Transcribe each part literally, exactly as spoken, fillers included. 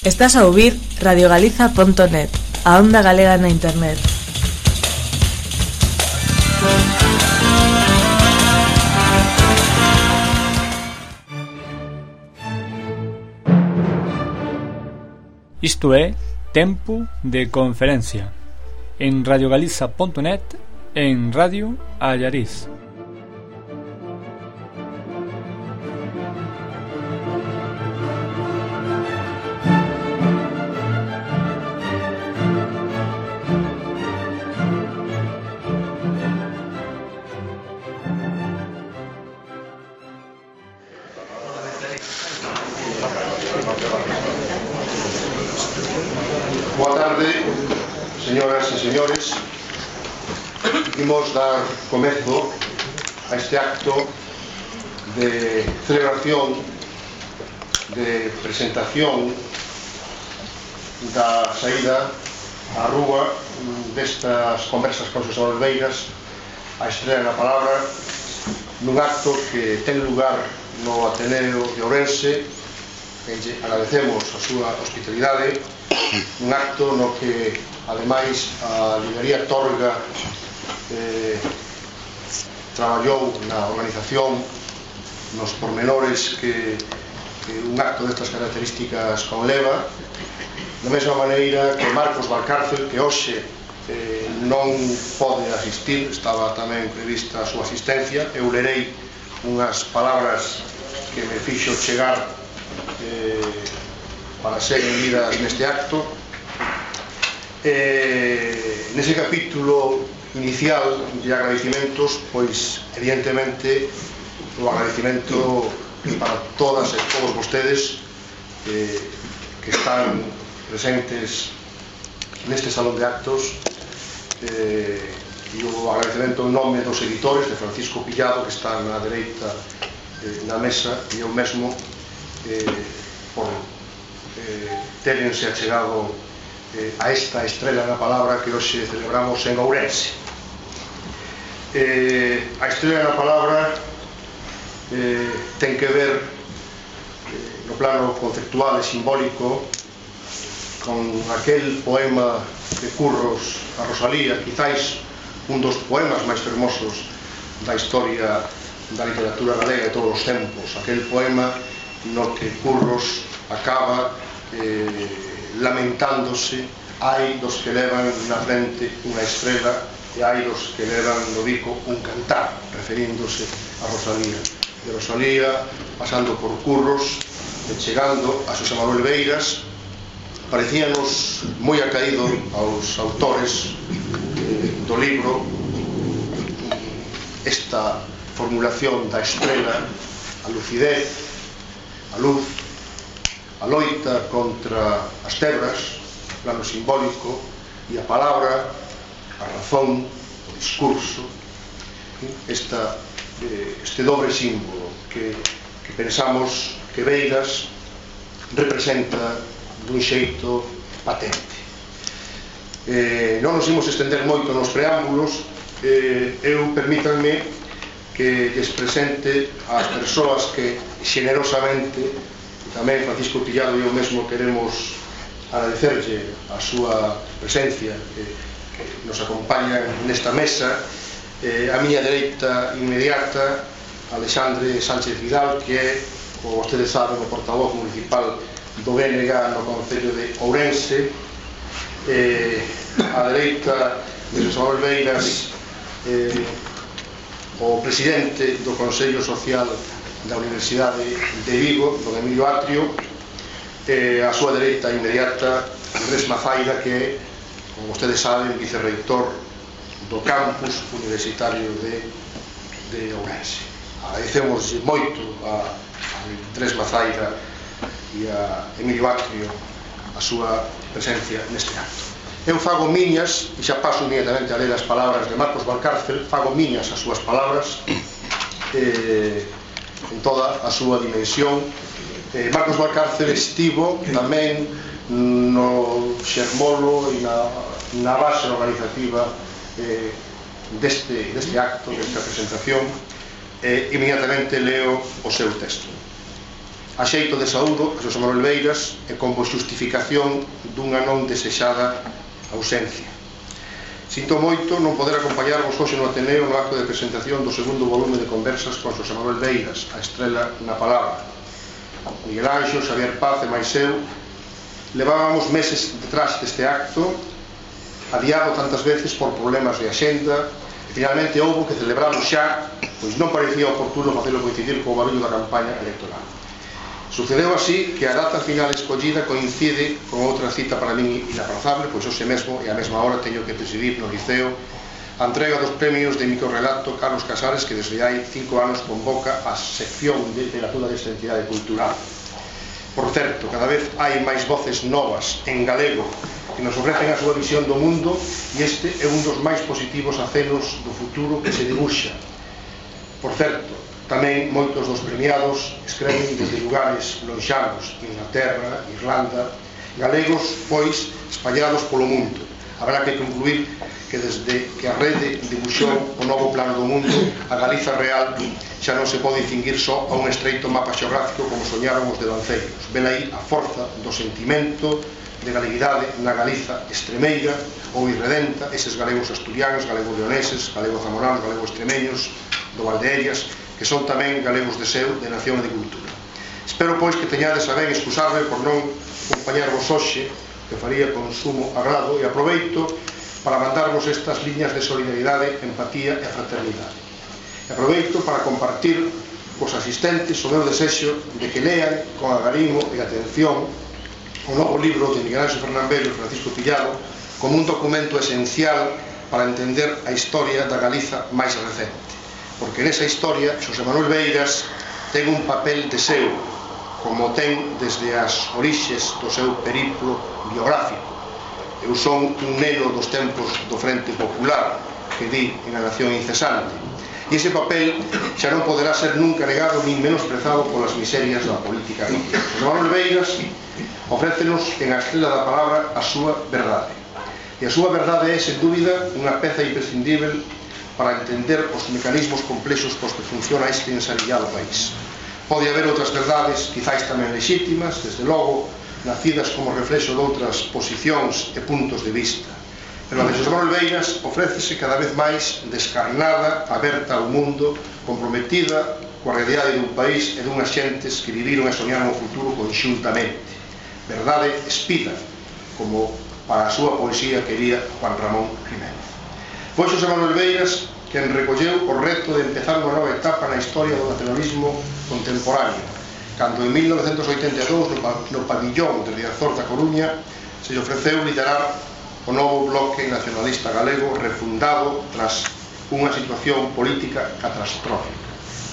Estás a ouvir radio galiza punto net, a onda galega na internet. Isto é Tempo de Conferencia en radio galiza punto net e en Radio Allariz. Boa tarde, señoras e señores. Imos dar comezo a este acto de celebración, de presentación da saída á rúa destas conversas con Xosé Olveiras, a estrela na palabra, nun acto que ten lugar no Ateneo de Ourense. Agradecemos a súa hospitalidade, un acto no que ademais a librería Torga eh, traballou na organización, nos pormenores que, que un acto destas características conleva, da mesma maneira que Marcos Valcárcel, que hoxe eh, non pode asistir, estaba tamén prevista a súa asistencia. Eu lerei unhas palabras que me fixo chegar Eh, para ser unidas neste acto. Eh, nese capítulo inicial de agradecimentos, pois evidentemente o agradecimento para todas e todos vostedes eh, que están presentes neste salón de actos, eh, e o agradecemento en nome dos editores, de Francisco Pillado, que está na dereita eh, na mesa, e eu mesmo Eh, por eh, terense achegado eh, a esta estrela na palabra que hoxe celebramos en Ourense. Eh, a estrela na palabra eh, ten que ver eh, no plano conceptual e simbólico con aquel poema de Curros a Rosalía, quizáis un dos poemas máis fermosos da historia da literatura galega de todos os tempos, aquel poema no que Curros acaba eh, lamentándose: hai dos que levan na frente unha estrela e hai dos que levan no bico un cantar, referíndose a Rosalía. De Rosalía, pasando por Curros e chegando a Xosé Manuel Beiras, parecíanos moi acaído aos autores eh, do libro esta formulación da estrela, a lucidez, a luz, a loita contra as tebras, o plano simbólico, e a palabra, a razón, o discurso, esta, este dobre símbolo que, que pensamos que Beiras representa dun xeito patente. Eh, non nos imos estender moito nos preámbulos. eh, eu permítanme que lles presente ás persoas que xenerosamente, tamén Francisco Pillado e eu mesmo queremos agradecerlle a súa presencia, que, que nos acompaña nesta mesa. Eh, a miña dereita inmediata, Alexandre Sánchez Vidal, que é, como vostedes saben, o portavoz municipal do B N G no Concello de Ourense. Eh, a dereita de Xosé Manuel Beiras, eh, o presidente do Consello Social da Universidade de Vigo, don Emilio Atrio. Eh, a súa dereita inmediata, Andrés Mazaira, que é, como vostedes saben, vicerreitor do campus universitario de, de Ourense. Agradecemos moito a, a Andrés Mazaira e a Emilio Atrio a súa presencia neste acto. Eu fago miñas, e xa paso inmediatamente a ler as palabras de Marcos Valcárcel, fago miñas as súas palabras eh, en toda a súa dimensión. eh, Marcos Valcárcel estivo tamén no xermolo e na, na base organizativa eh, deste, deste acto, desta presentación. eh, Inmediatamente leo o seu texto. A xeito de saúdo a Xosé Manuel Beiras e como xustificación dunha non desexada ausencia. Sinto moito non poder acompañarvos hoxe no Ateneo no acto de presentación do segundo volume de conversas con Xosé Manuel Beiras, A estrela na palabra. Miguel Anxo, Xavier Paz e máis eu levábamos meses detrás deste acto, adiado tantas veces por problemas de axenda, e finalmente houbo que celebralo xa, pois non parecía oportuno facelo coincidir co barullo da campaña electoral. Sucedeu así que a data final escollida coincide con outra cita para min inaprazable, pois hoxe mesmo e a mesma hora teño que presidir no Liceo a entrega dos premios de microrrelato Carlos Casares, que desde hai cinco anos convoca a sección de literatura desta entidade cultural. Por certo, cada vez hai máis voces novas en galego que nos ofrecen a súa visión do mundo, e este é un dos máis positivos acenos do futuro que se dibuxa. Por certo, tamén moitos dos premiados escreven desde lugares lonxanos, Inglaterra, Irlanda, galegos, pois, espallados polo mundo. Habrá que concluir que desde que a rede dibuxou o novo plano do mundo, a Galiza real xa non se pode distinguir só a un estreito mapa xeográfico como soñaron os devanceiros. Ven aí a forza do sentimento de galeguidade na Galiza extremeira ou irredenta, eses galegos asturianos, galegos leoneses, galegos zamoranos, galegos extremeños, do Valdeerias, que son tamén galegos de seu, de nación e de cultura. Espero, pois, que teñades a ben excusarme por non acompañarvos hoxe, que faría con sumo agrado, e aproveito para mandarvos estas liñas de solidaridade, empatía e fraternidade. E aproveito para compartir cos asistentes o meu desexo de que lean con agarimo e atención o novo libro de Miguel Anxo Fernán Bello e Francisco Pillado como un documento esencial para entender a historia da Galiza máis recente, porque nesa historia Xosé Manuel Beiras ten un papel de seu, como ten desde as orixes do seu periplo biográfico. Eu son un neno dos tempos do Frente Popular que di en A Nación Incesante, e ese papel xa non poderá ser nunca negado nin menosprezado polas miserias da política rica. Xosé Manuel Beiras ofrécenos en A estrela da palabra a súa verdade, e a súa verdade é, sen dúbida, unha peza imprescindível para entender os mecanismos complexos cos que funciona este ensarillado país. Pode haber outras verdades, quizáis tamén lexítimas, desde logo, nacidas como reflexo de outras posicións e puntos de vista, pero a de Xosé Manuel Beiras ofrécese cada vez máis descarnada, aberta ao mundo, comprometida coa realidade dun país e dunhas xentes que viviron e soñaron o futuro conxuntamente. Verdade espida, como para a súa poesía quería Juan Ramón Jiménez. Foi Xosé Manuel Beiras quen recolleu o reto de empezar unha nova etapa na historia do nacionalismo contemporáneo, cando en mil novecentos oitenta e dous no pabillón de Riazor da Coruña se lle ofreceu liderar o novo bloque nacionalista galego refundado tras unha situación política catastrófica.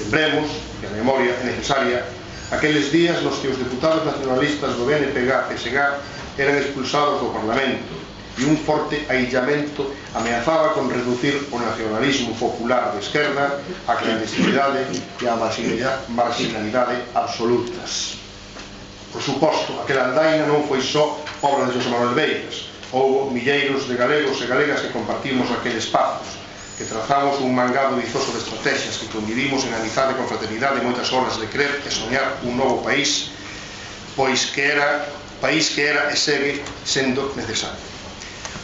Lembremos que a memoria é necesaria aqueles días nos que os deputados nacionalistas do B N P G e P S G eran expulsados do Parlamento e un forte aillamento ameazaba con reducir o nacionalismo popular de esquerda a clandestinidade e a marginalidade absolutas. Por suposto, aquela andaina non foi só obra de Xosé Manuel Beiras. Houbo milleiros de galegos e galegas que compartimos aqueles espazos, que trazamos un mangado vizoso de estrategias, que convivimos en amizade con fraternidade moitas horas de crer e soñar un novo país, pois que era país que era e segue sendo necesario.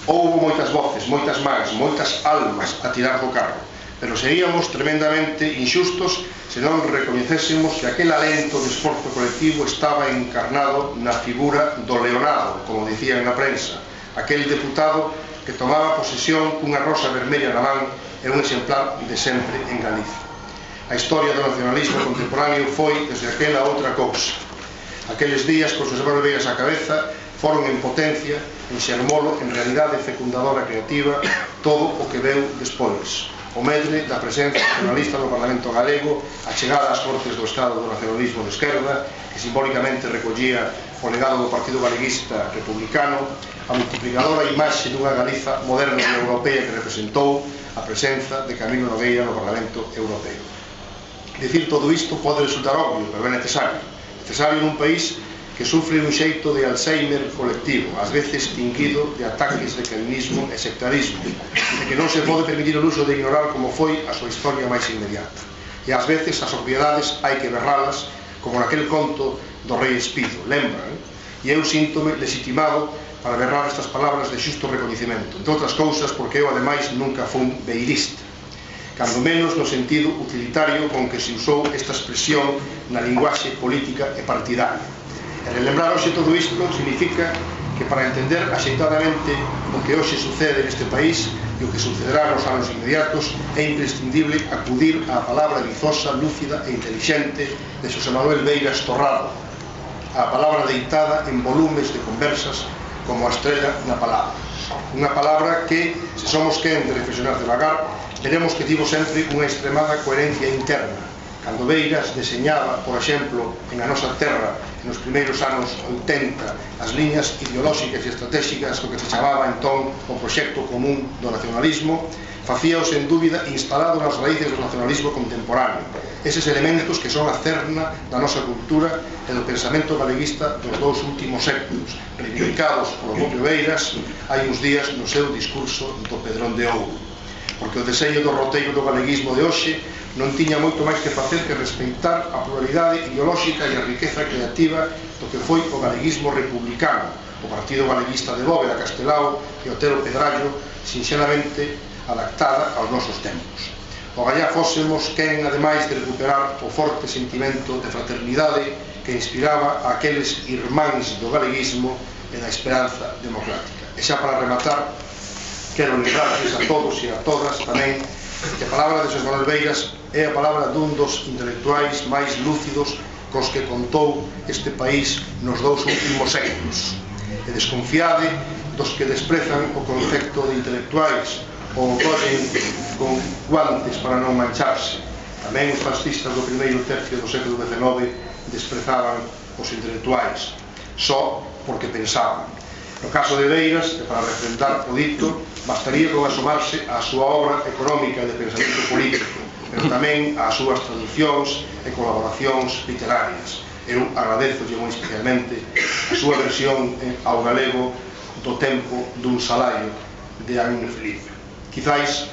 Houbo moitas voces, moitas mans, moitas almas a tirar do carro, pero seríamos tremendamente inxustos se non recoñecésemos que aquel alento de esforzo colectivo estaba encarnado na figura do Leonado, como dicían na prensa, aquel deputado que tomaba posesión cunha rosa vermella na man e un exemplar de sempre en Galicia. A historia do nacionalismo contemporáneo foi, desde aquela, outra cousa. Aqueles días, con Xosé Manuel Beiras á cabeza, foron en potencia, en xermolo, en realidade fecundadora creativa, todo o que veu despois. O medre da presencia nacionalista no Parlamento galego, a chegada ás Cortes do Estado do nacionalismo de esquerda, que simbólicamente recollía o legado do Partido Galeguista Republicano, a multiplicadora imaxe dunha Galiza moderna e europea que representou a presenza de Camilo Nogueira no Parlamento Europeo. Dicir todo isto pode resultar obvio, pero é necesario. Necesario nun país que sufre un xeito de Alzheimer colectivo, ás veces tinguido de ataques de calvinismo e sectarismo, e que non se pode permitir o luxo de ignorar como foi a súa historia máis inmediata. E ás veces as obviedades hai que berralas como naquel conto do rei Espido, lembran? E eu síntome legitimado para berrar estas palabras de xusto recoñecemento, entre outras cousas porque eu ademais nunca fun beirista, cando menos no sentido utilitario con que se usou esta expresión na linguaxe política e partidaria. E relembrar hoxe todo isto significa que para entender axeitadamente o que hoxe sucede neste país e o que sucederá nos anos inmediatos é imprescindible acudir á palabra vizosa, lúcida e intelixente de Xosé Manuel Beiras Torrado, a palabra deitada en volumes de conversas como a estrella na palabra. Unha palabra que, se somos quen de reflexionar devagar, veremos que tivo sempre unha extremada coherencia interna. Cando Beiras deseñaba, por exemplo, en a nosa terra, nos primeiros anos oitenta, as liñas ideolóxicas e estratégicas co que se chamaba entón o proxecto común do nacionalismo, facíao sen dúbida instalado nas raíces do nacionalismo contemporáneo, eses elementos que son a cerna da nosa cultura e do pensamento galeguista dos dous últimos séculos, reivindicados polo propio Beiras hai uns días no seu discurso do Pedrón de Ouro. Porque o deseño do roteiro do galeguismo de hoxe non tiña moito máis que facer que respeitar a pluralidade ideolóxica e a riqueza creativa do que foi o galeguismo republicano, o Partido Galeguista de Bóveda, Castelao e Otero Pedrallo, sinxelamente adaptada aos nosos tempos. O gallá fósemos quen, ademais de recuperar o forte sentimento de fraternidade que inspiraba a aqueles irmáns do galeguismo e da esperanza democrática. E xa para rematar, quero lembrarles a todos e a todas tamén que a palabra de Xosé Manuel Beiras é a palabra dun dos intelectuais máis lúcidos cos que contou este país nos dous últimos séculos. E desconfiade dos que desprezan o concepto de intelectuais ou collen con guantes para non mancharse. Tamén os fascistas do primeiro tercio do século dezenove desprezaban os intelectuais, só porque pensaban. No caso de Beiras, e para refrendar o dito, bastaría con asomarse á súa obra económica e de pensamento político, pero tamén ás súas traducións e colaboracións literarias. Eu agradezolle moi especialmente a súa versión ao galego do Tempo dun Salario de Anne Philippe. Quizáis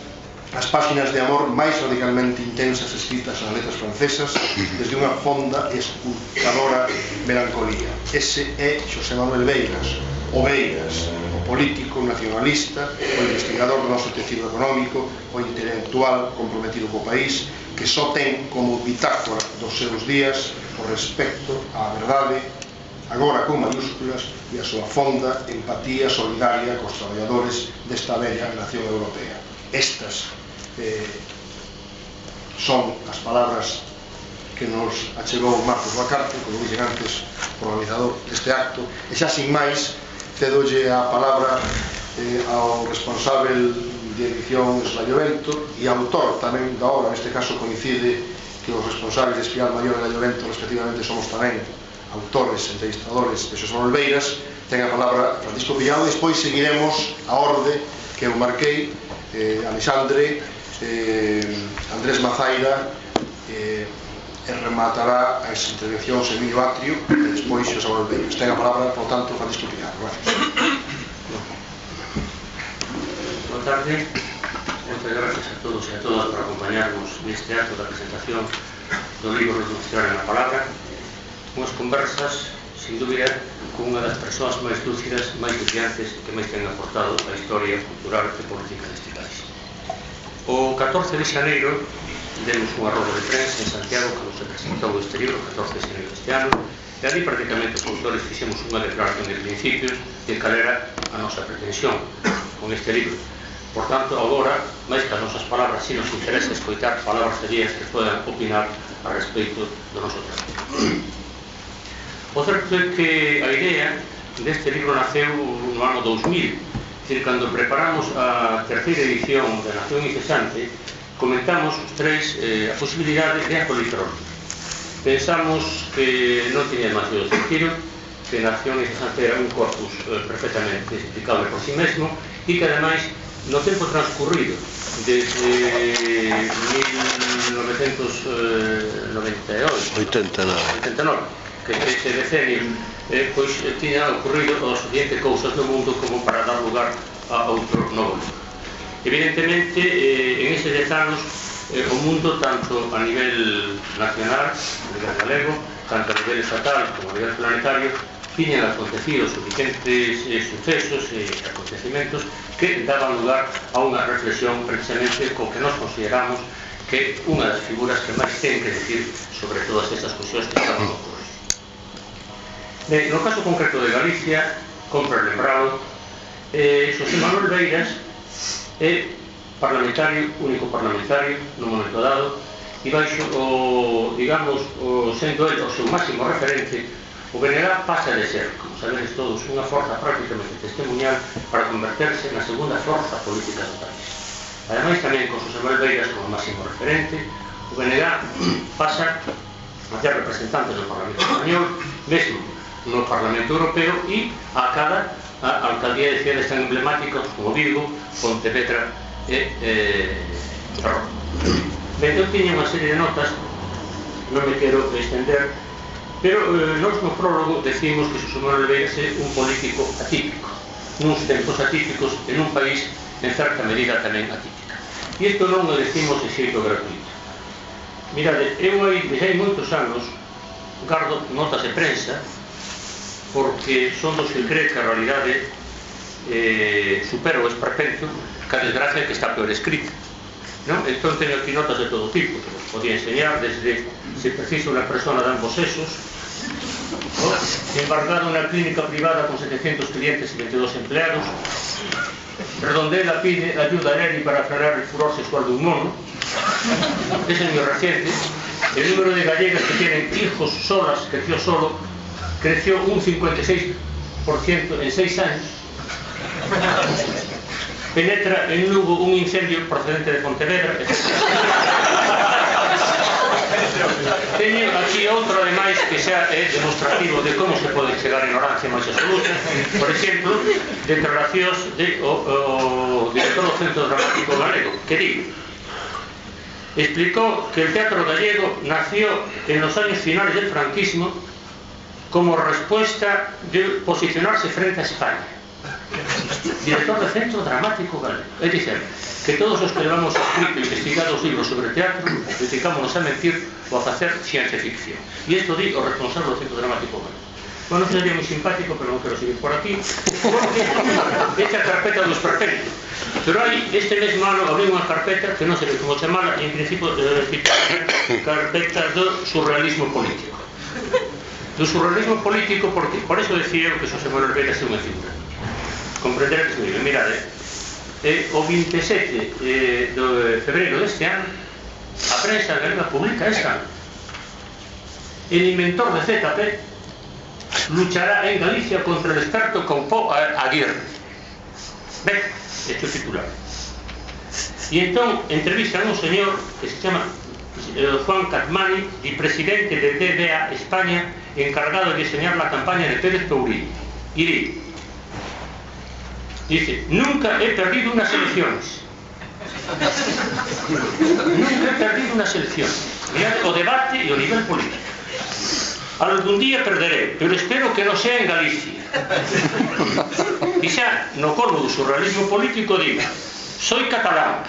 as páxinas de amor máis radicalmente intensas escritas nas letras francesas desde unha fonda e esculcadora melancolía. Ese é Xosé Manuel Beiras, o Beiras, o político nacionalista, o investigador do noso tecido económico, o intelectual comprometido co país, que só ten como bitácora dos seus días o respecto á verdade, agora con mayúsculas, e a súa fonda empatía solidaria cos traballadores desta bella nación europea. Estas eh, son as palabras que nos achegou Marcos Bacarte, como dixen antes, o organizador deste acto, e xa sin máis cedolle a palabra eh, ao responsável de edición Eslayovento e autor tamén da obra. Neste caso coincide que os responsables de Espiral Maior e Eslayovento respectivamente somos tamén autores, entrevistadores de Xosé Manuel Beiras. Ten a palabra Francisco Pillado e despois seguiremos a orde que eu marquei, eh, Alexandre, eh, Andrés Mazaira, eh, e rematará as intervencións Emilio Atrio e despois Xosé Manuel Beiras. Ten a palabra, por tanto, Francisco Pillado. Boa tarde. Moitas gracias a todos e a todas por acompañarnos neste acto da presentación do libro Reducción na Palabra. Unhas conversas, sin dúbida, con unha das persoas máis lúcidas, máis brillantes que máis ten aportado a historia cultural e política deste país. O catorce de xaneiro demos unha roda de prensa en Santiago que nos presentou este libro, catorce de xaneiro deste ano, e ali prácticamente os autores fixemos unha declaración de principios de cal era a nosa pretensión con este libro. Por tanto, agora, máis que as nosas palabras, si nos interesa escoitar palabras de días que podan opinar a respeito do noso traballo. O certo é que a idea deste libro naceu no ano dous mil, é dicir, cando preparamos a terceira edición de Nación Incesante, comentamos os tres eh, a posibilidade de acto electrónico. Pensamos que non tiña demasiado sentido, que Nación Incesante era un corpus eh, perfectamente explicable por si mesmo e que ademais no tempo transcurrido desde mil novecentos noventa e oito oitenta e nove que ese decenio eh, pois eh, tiña ocurrido o suficiente cousas no mundo como para dar lugar a outro novo. Evidentemente, eh, en eses dez anos eh, o mundo, tanto a nivel nacional, a nivel galego, tanto a nivel estatal como a nivel planetario, tiñan acontecido suficientes eh, sucesos e eh, acontecimentos que daban lugar a unha reflexión precisamente co que nos consideramos que unha das figuras que máis ten que decir sobre todas estas cuestións que estamos ocurrindo. Ben, no caso concreto de Galicia, compra lembrado, eh, Xosé Manuel Beiras é parlamentario, único parlamentario no momento dado, e baixo o, digamos, o, sendo el o seu máximo referente, o B N G pasa de ser, como sabedes todos, unha forza prácticamente testemunhal para converterse na segunda forza política do país. Ademais, tamén con Xosé Manuel Beiras como máximo referente, o B N G pasa a ter representantes no Parlamento Español, mesmo no Parlamento Europeo, e a cada a alcaldía de cidades tan emblemáticas como Vigo, Pontevedra e eh, Ferrol. Ben, eu tiña unha serie de notas, non me quero extender, pero eh, nos no prólogo decimos que Xosé Manuel Beiras é un político atípico, nuns tempos atípicos en un país en certa medida tamén atípica. E isto non o decimos de xeito gratuito. Mirade, eu hai, desde hai moitos anos gardo notas de prensa porque son dos que cree que a realidade eh, supera o esperpento que a desgracia que está peor escrita. ¿No? Entón teño aquí notas de todo tipo que vos podía enseñar, desde se precisa unha persona de ambos sexos, ¿no? Embargado unha clínica privada con setecientos clientes e veintidós empleados, Redondela pide ayuda a Neri para frenar el furor sexual de un mono, ese es muy reciente. El número de gallegas que tienen hijos solas creció solo, creció un cincuenta y seis por ciento en seis años. Penetra en Lugo un incendio procedente de Pontevedra, etcétera. Teño aquí outro, ademais, que xa é demostrativo de como se pode chegar a ignorancia máis absoluta. Por exemplo, declaracións de o, o director do Centro Dramático Galego, que digo, explicó que el teatro gallego nació en los años finales del franquismo como respuesta de posicionarse frente a España. Director del Centro Dramático Galego. Es decir, que todos os que levamos escrito e investigado os libros sobre teatro dedicámonos a mentir ou a facer ciencia ficción. E isto di o responsable do Centro Dramático Galego. Bueno, sería moi simpático, pero non quero seguir por aquí, porque esta carpeta do esperpento. Pero hai, este mesmo ano, abrí unha carpeta que non sei como chamala, e en principio eh, carpeta do surrealismo político. Do surrealismo político, porque por eso decía eu que Xosé Manuel Beiras é unha figura. Comprender que se mirade, eh, o vinte e sete eh, de febreiro deste ano, a prensa galega publica esta. El inventor de Z P luchará en Galicia contra el experto Campó Aguirre. Ben, este é o titular. E entón entrevistan a un señor que se chama eh, Juan Catmani, y presidente de D B A España, encargado de diseñar la campaña de Pérez Pourín. Y di, dice, nunca he perdido unas elecciones. Nunca he perdido unas elecciones. Mirad, o debate e o nivel político. Algún día perderé, pero espero que no sea en Galicia. Y xa, no colmo do surrealismo político diga, soy catalán,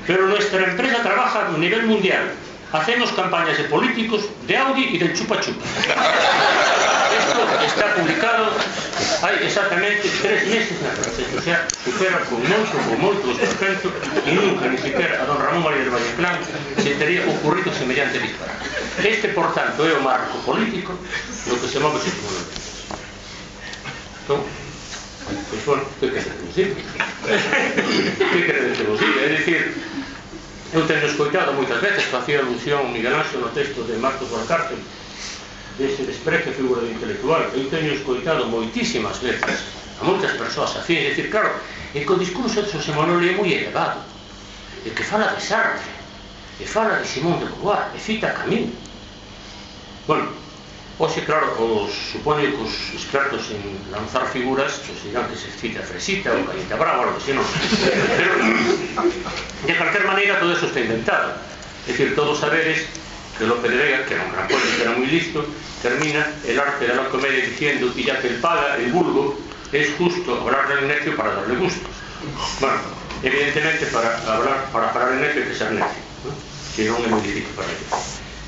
pero nuestra empresa trabaja a nivel mundial. Hacemos campañas de políticos, de Audi y del chupa chupa. Esto está publicado hai exactamente tres meses na prensa, o sea, supera con moito, con moito esperpento, e nunca, ni siquiera a don Ramón María del Valleclán se teria ocurrido semellante disparate. Este, por tanto, é o marco político no que se move Xosé Manuel Beiras. Entón, pois, bueno, que quere que vos diga? Que quere que vos diga? É dicir, eu teño escoitado moitas veces, facía alusión Miguel Ángel no texto de Marcos Valcárcel, deste desprecio figura de intelectual. Eu teño escoitado moitísimas veces a moitas persoas afín, é dicir, claro, é que o discurso de Xosé Manuel é moi elevado, é que fala de Sartre, e fala de Simón de Beauvoir, e cita Camus. Bueno, hoxe, claro, os, supoño que os expertos en lanzar figuras pues, dirán que se cita Fresita ou Cañita Brava, algo así, non? Pero, de cualquier maneira, todo eso está inventado. É dicir, todos saberes que Lope de Vega, que era un gran poeta, que era moi listo, termina el arte de la comedia diciendo, y ya que el paga, el vulgo, es justo hablar del necio para darle gusto. Bueno, evidentemente para hablar, para parar el necio hay que ser necio, ¿no? Si non é moi difícil para ello.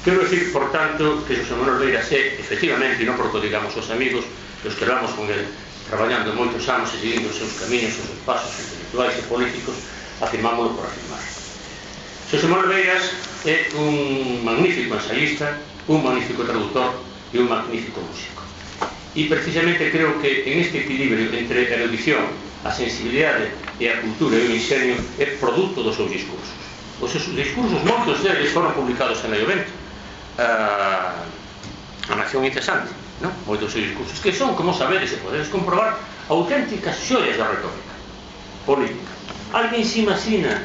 Quero decir, por tanto, que Xosé Manuel Beiras é, efectivamente, e non porque digamos os amigos, os que vamos con ele traballando moitos anos e seguindo os seus camiños, os seus pasos intelectuais e políticos, afirmámoslo por afirmar. Xosé Manuel Beiras é un magnífico ensayista, un magnífico traductor e un magnífico músico. E precisamente creo que en este equilibrio entre a erudición, a sensibilidade e a cultura e o ingenio é produto dos seus discursos. Os seus discursos, moitos deles foron publicados en Leio Vento, a, a Nación Incesante, non? Moitos seus discursos, que son, como sabedes e podedes comprobar, auténticas xoias da retórica política. Alguén se imagina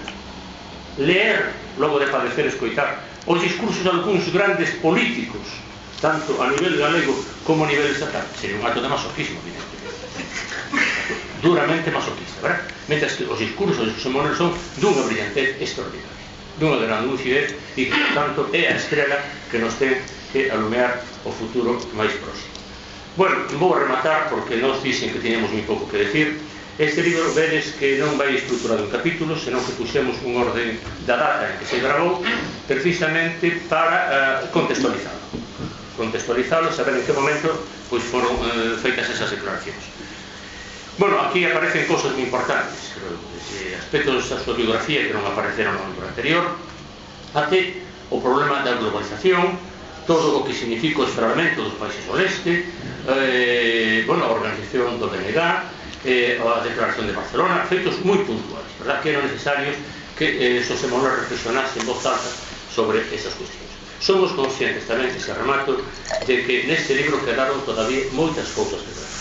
leer, logo de padecer escoitar, os discursos de algúns grandes políticos, tanto a nivel galego como a nivel estatal? Sería un acto de masoquismo, evidentemente. Duramente masoquista, verdad? Mentre que os discursos de Xosé Manuel son dunha brillantez extraordinaria, dunha gran lucidez, e que, por tanto, é a estrela que nos ten que alumear o futuro máis próximo. Bueno, vou a rematar porque nos dicen que teníamos moi pouco que decir. Este libro vedes que non vai estruturado en capítulos, senón que puxemos un orden da data en que se grabou, precisamente para uh, contextualizado. Contextualizado, saber en que momento pois, foron uh, feitas esas declaracións. Bueno, aquí aparecen cosas moi importantes, desde aspectos da súa biografía que non apareceron no libro anterior, até o problema da globalización, todo o que significa o esfriamento dos países do leste, eh, bueno, a organización do B N G, eh, a declaración de Barcelona, feitos moi puntuales, verdad? Que eran necesarios que eh, Xosé Manuel reflexionase en voz alta sobre esas cuestións. Somos conscientes tamén, que se remato, de que neste libro quedaron todavía moitas cousas que tratar.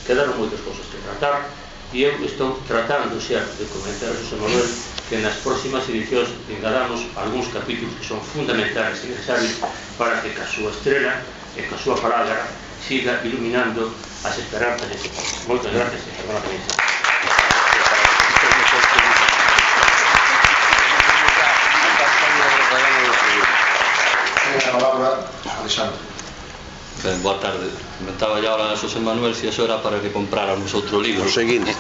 Quedaron moitas cousas que tratar, e eu estou tratando xa de comentar a Xosé Manuel que nas próximas edicións engadamos algúns capítulos que son fundamentais e necesarios para que ca súa estrela e ca súa palabra siga iluminando as esperanzas deste país. Moitas gracias e perdona tamén. A palabra, Alexandre. Ben, boa tarde. Comentaba ya ahora a Xosé Manuel se eso era para que compráramos outro libro. O seguinte.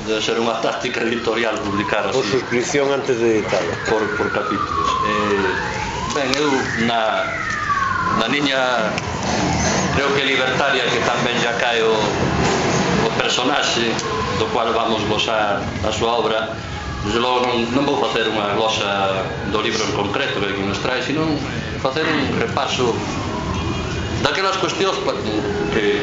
Debe ser unha táctica editorial publicar así. Por suscripción antes de editarlo. Por, por capítulos. Eh, ben, eu na, na niña creo que libertaria que tamén ya cae o, o personaxe do cual vamos glosar a súa obra. Desde logo non, non vou facer unha glosa do libro en concreto que aquí nos trae, sino facer un repaso daquelas cuestións que,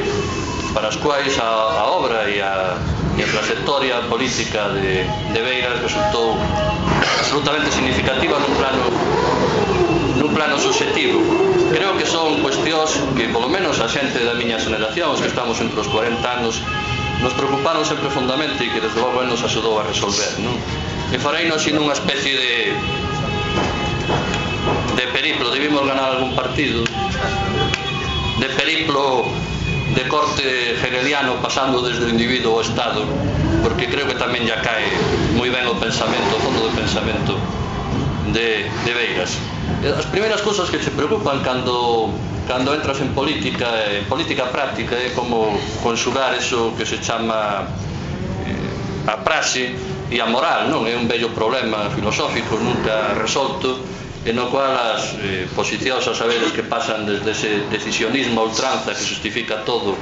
para as quais a, a obra e a, e a trayectoria política de, de Beiras resultou absolutamente significativa nun plano nun plano subjetivo. Creo que son cuestións que, polo menos a xente da miña xeneración, os que estamos entre os cuarenta anos, nos preocuparon sempre fondamente e que desde logo nos axudou a resolver, non? E fareino así nunha especie de de periplo, debimos ganar algún partido, de periplo de corte hegeliano pasando desde o individuo ao Estado, porque creo que tamén ya cae moi ben o pensamento, o fondo do pensamento de, de Beiras. As primeiras cousas que se preocupan cando, cando entras en política, en política práctica, é como conxugar eso que se chama eh, a praxe e a moral, non? É un bello problema filosófico nunca resolto, en no cual as eh, posicións a saberes que pasan desde ese decisionismo a ultranza que justifica todo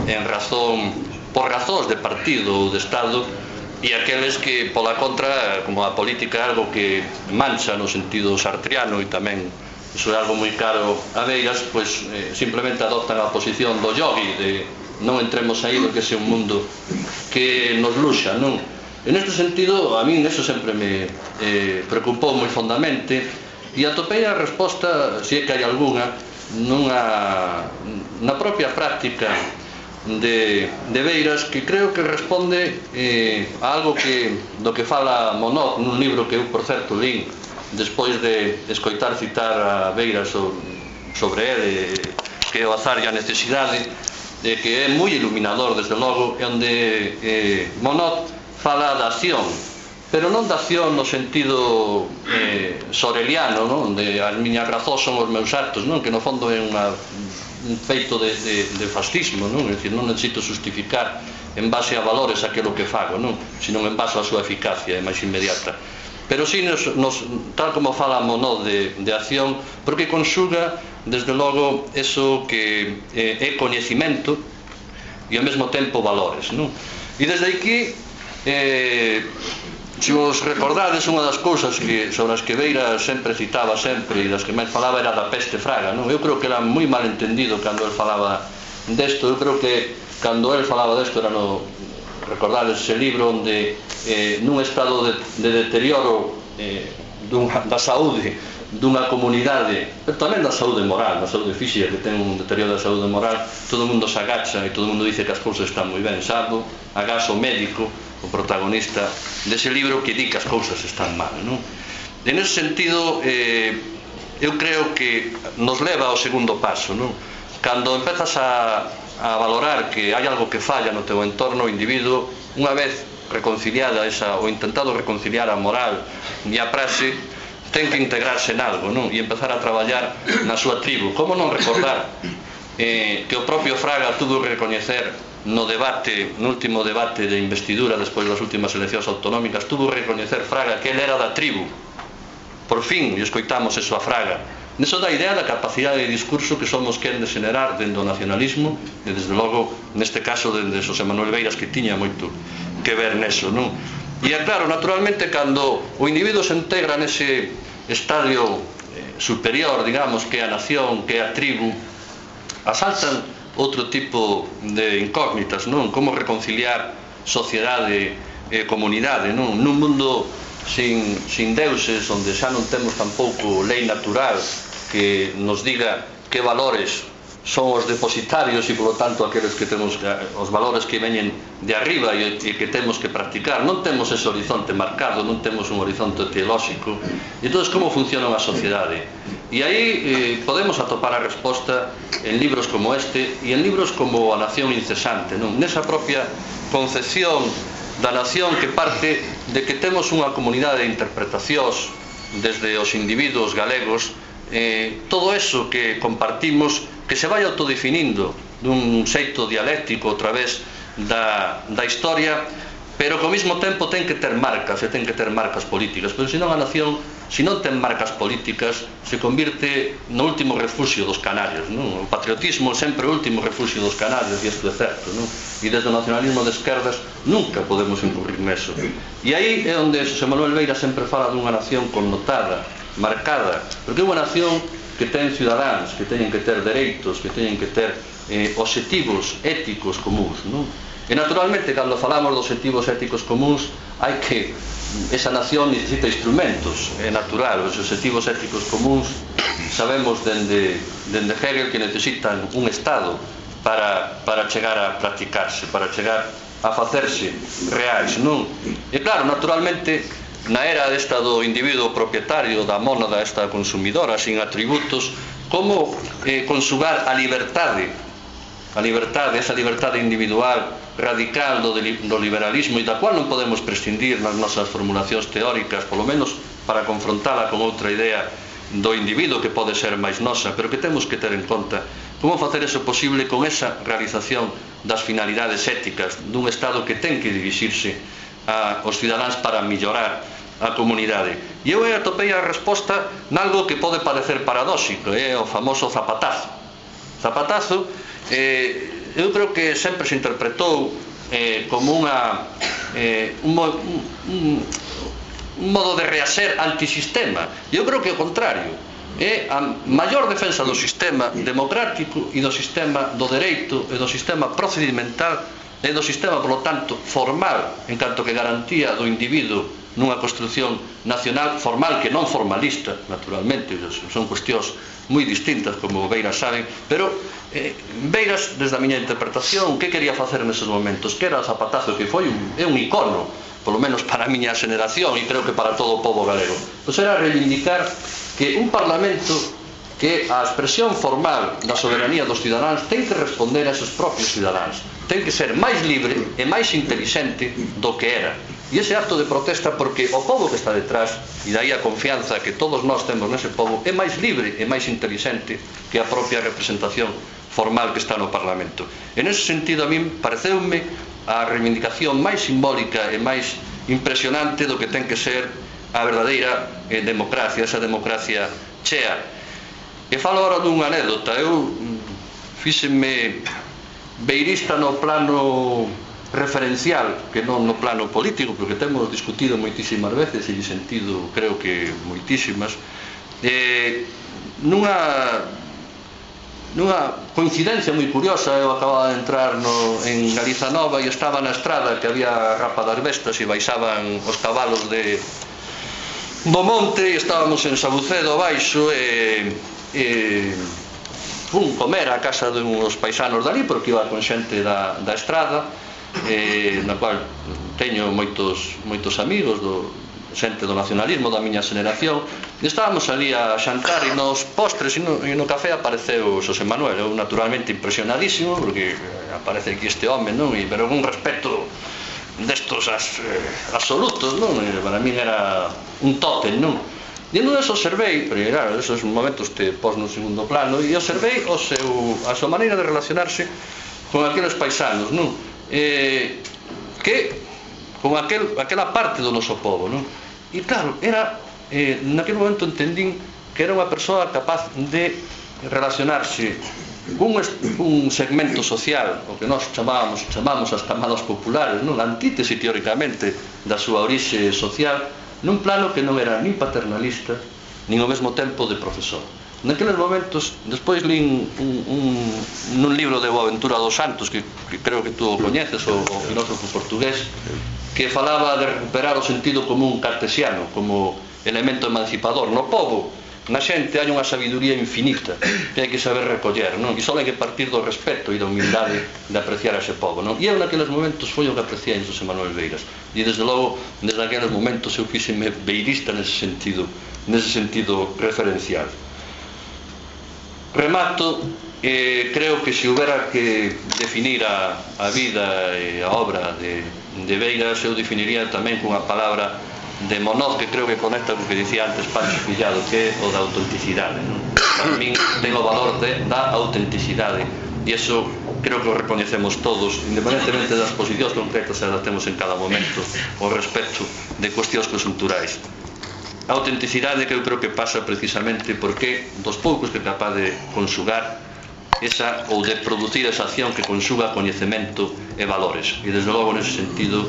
en razón, por razóns de partido ou de Estado, e aqueles que, pola contra, como a política é algo que mancha no sentido sartriano, e tamén iso é algo moi caro a Beiras, pois eh, simplemente adoptan a posición do yogi, de non entremos aí do que ese un mundo que nos luxa, non? En este sentido, a min eso sempre me eh, preocupou moi fondamente, e atopei a resposta, se é que hai algunha, nunha, na propia práctica de, de Beiras, que creo que responde eh, a algo que, do que fala Monod nun libro que eu, por certo, lín despois de escoitar citar a Beiras sobre ele, que é o azar e a necesidade, de que é moi iluminador, desde logo, e onde eh, Monod fala da acción, pero non da acción no sentido eh, soreliano, non? De as miñas razóns son os meus actos, non? Que no fondo é unha, un feito de, de, de fascismo, non? É dicir, non necesito justificar en base a valores aquilo que fago, non? Sino en base á súa eficacia, é máis inmediata. pero si nos, nos, tal como falamos, no, de, de acción, porque conxuga desde logo eso que eh, é coñecimento e ao mesmo tempo valores, non? E desde aquí eh, se vos recordades, unha das cousas que, sobre as que Beira sempre citaba sempre e das que máis falaba era da peste fraga, non? Eu creo que era moi mal entendido cando el falaba desto. Eu creo que cando el falaba desto era no, recordades ese libro onde eh, nun estado de, de deterioro eh, dunha, da saúde dunha comunidade, pero tamén da saúde moral, da saúde física, que ten un deterioro da saúde moral, todo o mundo se agacha e todo o mundo dice que as cousas están moi ben, salvo agacha o médico, o protagonista dese libro, que di que as cousas están mal, non? En ese sentido, eh, eu creo que nos leva ao segundo paso, non? Cando empezas a, a valorar que hai algo que falla no teu entorno, o individuo, unha vez reconciliada esa, ou intentado reconciliar a moral e a praxe, ten que integrarse en algo, non? E empezar a traballar na súa tribu. Como non recordar eh, que o propio Fraga tuvo que recoñecer no debate, no último debate de investidura despois das últimas eleccións autonómicas, tuvo que recoñecer Fraga que ele era da tribu. Por fin, e escoitamos eso a Fraga. Neso da idea da capacidade de discurso que somos quen de xenerar dentro do nacionalismo, e desde logo, neste caso, dende Xosé Manuel Beiras, que tiña moito que ver neso, non? E é claro, naturalmente, cando o individuo se integra nese estadio superior, digamos, que é a nación, que é a tribu, asaltan outro tipo de incógnitas, non? Como reconciliar sociedade e comunidade, non? Nun mundo sin, sin deuses, onde xa non temos tampouco lei natural que nos diga que valores son os depositarios e, polo tanto, aqueles que temos, os valores que veñen de arriba e que temos que practicar. Non temos ese horizonte marcado, non temos un horizonte teolóxico. E entón, como funciona unha sociedade? E aí eh, podemos atopar a resposta en libros como este e en libros como A Nación Incesante, non? Nesa propia concepción da nación que parte de que temos unha comunidade de interpretacións desde os individuos galegos, eh, todo eso que compartimos, que se vai autodefinindo dun xeito dialéctico a través da, da historia, pero que ao mesmo tempo ten que ter marcas, e ten que ter marcas políticas, pero senón a nación, se non ten marcas políticas, se convirte no último refuxio dos canarios, non? O patriotismo é sempre o último refuxio dos canarios, e isto é certo, non? E desde o nacionalismo de esquerdas nunca podemos incurrir neso. E aí é onde Xosé Manuel Beira sempre fala dunha nación connotada, marcada, porque é unha nación que ten cidadáns, que teñen que ter dereitos, que teñen que ter eh, obxectivos éticos comuns, non? E naturalmente, cando falamos dos obxectivos éticos comuns, hai que esa nación necesita instrumentos, é natural. Os obxectivos éticos comuns sabemos dende, dende Hegel que necesitan un Estado para, para chegar a practicarse, para chegar a facerse reais, non? E claro, naturalmente, na era desta do individuo propietario, da mónada esta consumidora, sin atributos, como eh, consugar a liberdade, a liberdade, esa liberdade individual radical do, do liberalismo, e da cual non podemos prescindir nas nosas formulacións teóricas, polo menos para confrontala con outra idea do individuo que pode ser máis nosa, pero que temos que ter en conta como facer eso posible con esa realización das finalidades éticas dun Estado que ten que dirixirse aos cidadáns para mellorar a comunidade. E eu atopei a resposta nalgo que pode parecer paradóxico, é o famoso zapatazo. Zapatazo, eh, eu creo que sempre se interpretou eh, como unha, eh, un, un, un modo de reaxer antisistema. E eu creo que o contrario, é a maior defensa do sistema democrático e do sistema do dereito e do sistema procedimental e do sistema, polo tanto, formal, en canto que garantía do individuo nunha construción nacional formal, que non formalista, naturalmente, son cuestións moi distintas, como Beiras saben, pero eh, Beiras, desde a miña interpretación, que quería facer neses momentos? Que era o zapatazo, que foi un, é un icono, polo menos para a miña xeneración, e creo que para todo o povo galego. Pois era reivindicar que un parlamento, que a expresión formal da soberanía dos cidadáns ten que responder a esos propios cidadáns, ten que ser máis libre e máis intelixente do que era. E ese acto de protesta, porque o povo que está detrás, e daí a confianza que todos nós temos nese povo, é máis libre e máis intelixente que a propia representación formal que está no Parlamento. En ese sentido, a min pareceume a reivindicación máis simbólica e máis impresionante do que ten que ser a verdadeira democracia, esa democracia chea. E falo agora dunha anécdota. Eu fíxenme beirista no plano referencial, que non no plano político, porque temos discutido moitísimas veces e sentido, creo que moitísimas, eh, nunha nunha coincidencia moi curiosa. Eu acababa de entrar no, en Galiza Nova e estaba na estrada que había a Rapa das Bestas e baixaban os cabalos de do monte e estábamos en Sabucedo baixo e, e fun comer a casa de uns paisanos dali porque iba con xente da, da estrada e, na cual teño moitos, moitos amigos do xente do nacionalismo da miña xeneración, e estábamos ali a xantar e nos postres e no, e no café apareceu Xosé Manuel. Eu naturalmente impresionadísimo porque aparece aquí este home, non? E, pero con un respeto destos as, eh, absolutos, non? E para min era un tótem, non? E non eso observei, porque claro, esos momentos te pos no segundo plano, e observei o seu, a súa maneira de relacionarse con aqueles paisanos, non? Eh, que con aquel, aquela parte do noso povo, non? E claro, era, eh, naquele momento entendín que era unha persoa capaz de relacionarse cun, un segmento social, o que nós chamábamos, chamábamos as camadas populares, non? A antítese teóricamente da súa orixe social, nun plano que non era nin paternalista, nin ao mesmo tempo de profesor. Naqueles momentos, despois lín un, un, nun libro de Boaventura dos Santos, que, que creo que tú o coñeces, o, o filósofo portugués, que falaba de recuperar o sentido común cartesiano como elemento emancipador. No povo, na xente, hai unha sabiduría infinita que hai que saber recoller, non? E só hai que partir do respeto e da humildade de apreciar a ese povo, non? E eu naqueles momentos foi o que apreciei en Xosé Manuel Beiras. E desde logo, desde aqueles momentos eu fíxeme beirista nese sentido, nese sentido referencial. Remato, eh, creo que se houbera que definir a, a vida e a obra de, de Beiras, eu definiría tamén cunha palabra de Monoz, que creo que conecta co que dicía antes Pancho Fillado, que é o da autenticidade, non? Para min ten o valor de, da autenticidade, e iso creo que o recoñecemos todos, independentemente das posicións concretas que temos en cada momento, o respecto de cuestións consulturais. A autenticidade que eu creo que pasa precisamente porque dos poucos que é capaz de conxugar esa, ou de producir esa acción que conxuga coñecemento e valores. E desde logo nese sentido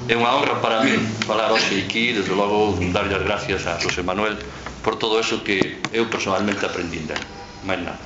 é unha honra para mí falar hoxe aquí, desde logo darlle as gracias a Xosé Manuel por todo eso que eu personalmente aprendín dele. Mais nada.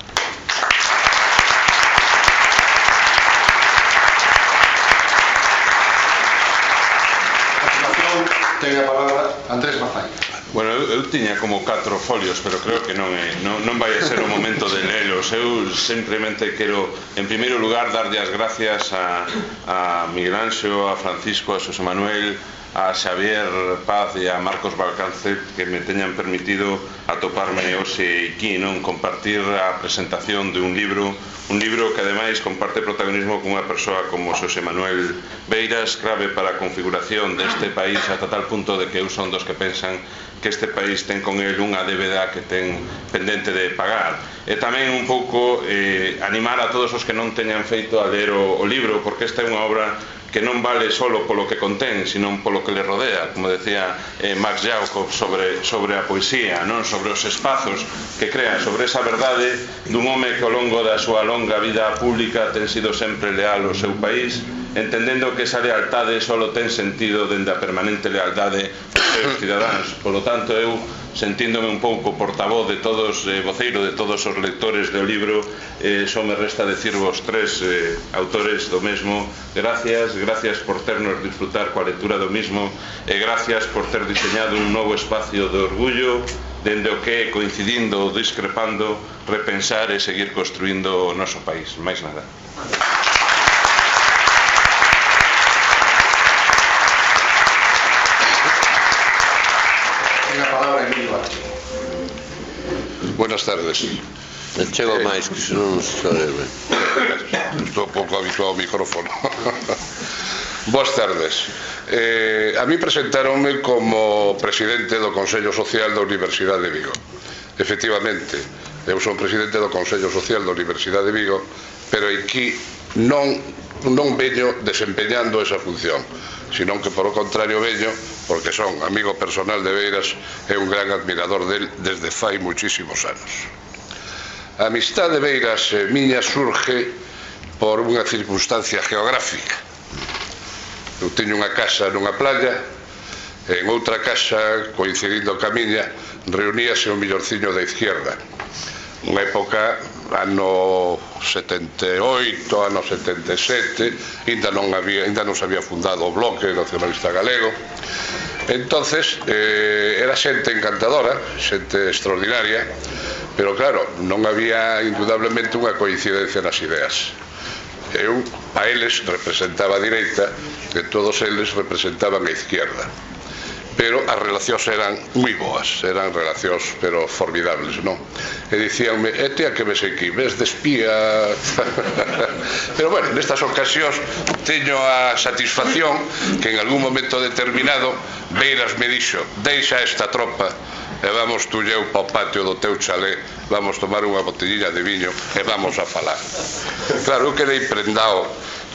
Ten a palabra Andrés Mazai. Bueno, eu, eu tiña como catro folios, pero creo que non, é, non, non vai a ser o momento de lelos. Eu simplemente quero, en primeiro lugar, darlle as gracias a, a Miguel Anxo, a Francisco, a Xosé Manuel, a Xavier Paz e a Marcos Balcance, que me teñan permitido atoparme hoxe aquí, non? Compartir a presentación de un libro, un libro que ademais comparte protagonismo con unha persoa como Xosé Manuel Beiras, clave para a configuración deste país, ata tal punto de que eu son dos que pensan que este país ten con el unha débeda que ten pendente de pagar. E tamén un pouco eh, animar a todos os que non teñan feito a ler o, o libro, porque esta é unha obra que non vale solo polo que contén, sino polo que le rodea, como decía eh, Max Jacob sobre, sobre a poesía, non? Sobre os espazos que crea, sobre esa verdade dun home que ao longo da súa longa vida pública ten sido sempre leal ao seu país, entendendo que esa lealtade solo ten sentido dende a permanente lealdade aos seus cidadáns. Por lo tanto, eu, sentíndome un pouco portavoz de todos, eh, voceiro de todos os lectores do libro, eh, só me resta decirvos tres eh, autores do mesmo: gracias, gracias por ternos disfrutar coa lectura do mismo, e gracias por ter diseñado un novo espacio de orgullo dende o que, coincidindo ou discrepando, repensar e seguir construindo o noso país. Máis nada. Buenas tardes. Non chego máis, que se non se sabe. Estou pouco habituado ao micrófono. Boas tardes. Eh, a mí presentáronme como presidente do Consello Social da Universidade de Vigo. Efectivamente, eu son presidente do Consello Social da Universidade de Vigo, pero aquí non non veño desempeñando esa función, sino que por o contrario veño porque son amigo personal de Beiras e un gran admirador del desde fai muchísimos anos. A amistade de Beiras e miña surge por unha circunstancia geográfica. Eu teño unha casa nunha playa, e en outra casa, coincidindo ca miña, reuníase o millorciño da izquierda. Unha época, ano setenta e oito, ano setenta e sete, ainda non había, ainda non se había fundado o Bloque Nacionalista Galego. Entonces, eh, era xente encantadora, xente extraordinaria, pero claro, non había indudablemente unha coincidencia nas ideas. Eu, a eles, representaba a direita, e todos eles representaban a izquierda. Pero as relacións eran moi boas, eran relacións pero formidables, non? E dicíanme, e ti a que ves aquí, ves de espía? Pero bueno, nestas ocasións teño a satisfacción que en algún momento determinado Beiras me dixo, deixa esta tropa e vamos tú e eu para o patio do teu chalé, vamos tomar unha botellilla de viño e vamos a falar. Claro, eu quedei prendado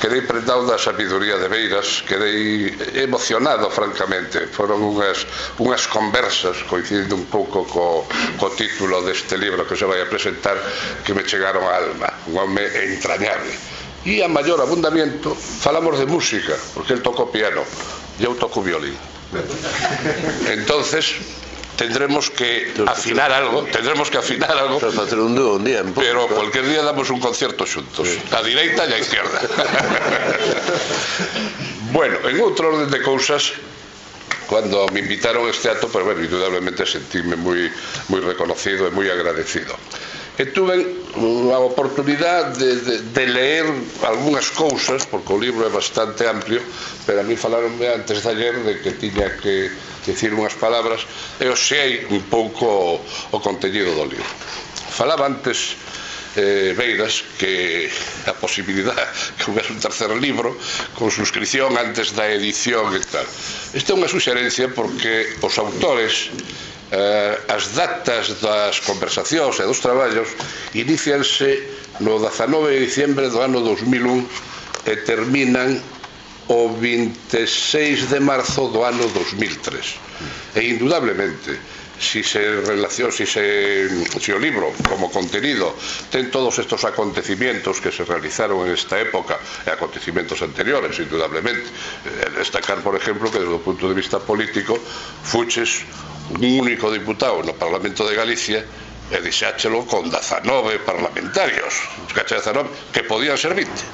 Quedei prendado da sabiduría de Beiras, quedei emocionado, francamente. Foron unhas, unhas conversas, coincidindo un pouco co, co título deste libro que se vai a presentar, que me chegaron á alma, un home entrañable. E a maior abundamiento falamos de música, porque el toca o piano e eu toco o violín. Entonces tendremos que afinar algo, tendremos que afinar algo, pero cualquier día damos un concierto xuntos, a direita e a izquierda. Bueno, en outro orden de cousas, cando me invitaron a este acto, pues bueno, indudablemente sentíme moi moi reconocido e moi agradecido. E tuve a oportunidade de, de, de leer algunhas cousas, porque o libro é bastante amplio, pero a mí falaronme antes de ayer de que tiña que dicir unhas palabras e oxei un pouco o contenido do libro. Falaba antes eh, Beiras que a posibilidade que houvese un tercer libro con suscripción antes da edición e tal. Esta é unha suxerencia porque os autores eh, as datas das conversacións e dos traballos inicianse no dezanove de diciembre do ano dos mil un e terminan o vinte e seis de marzo do ano dos mil tres. E indudablemente, si se relaciona, si, se, si o libro como contenido ten todos estos acontecimientos que se realizaron en esta época e acontecimientos anteriores, indudablemente, destacar, por ejemplo, que desde o punto de vista político fuches un único diputado no Parlamento de Galicia e dixáchelo con dezanove parlamentarios que podían ser vinte.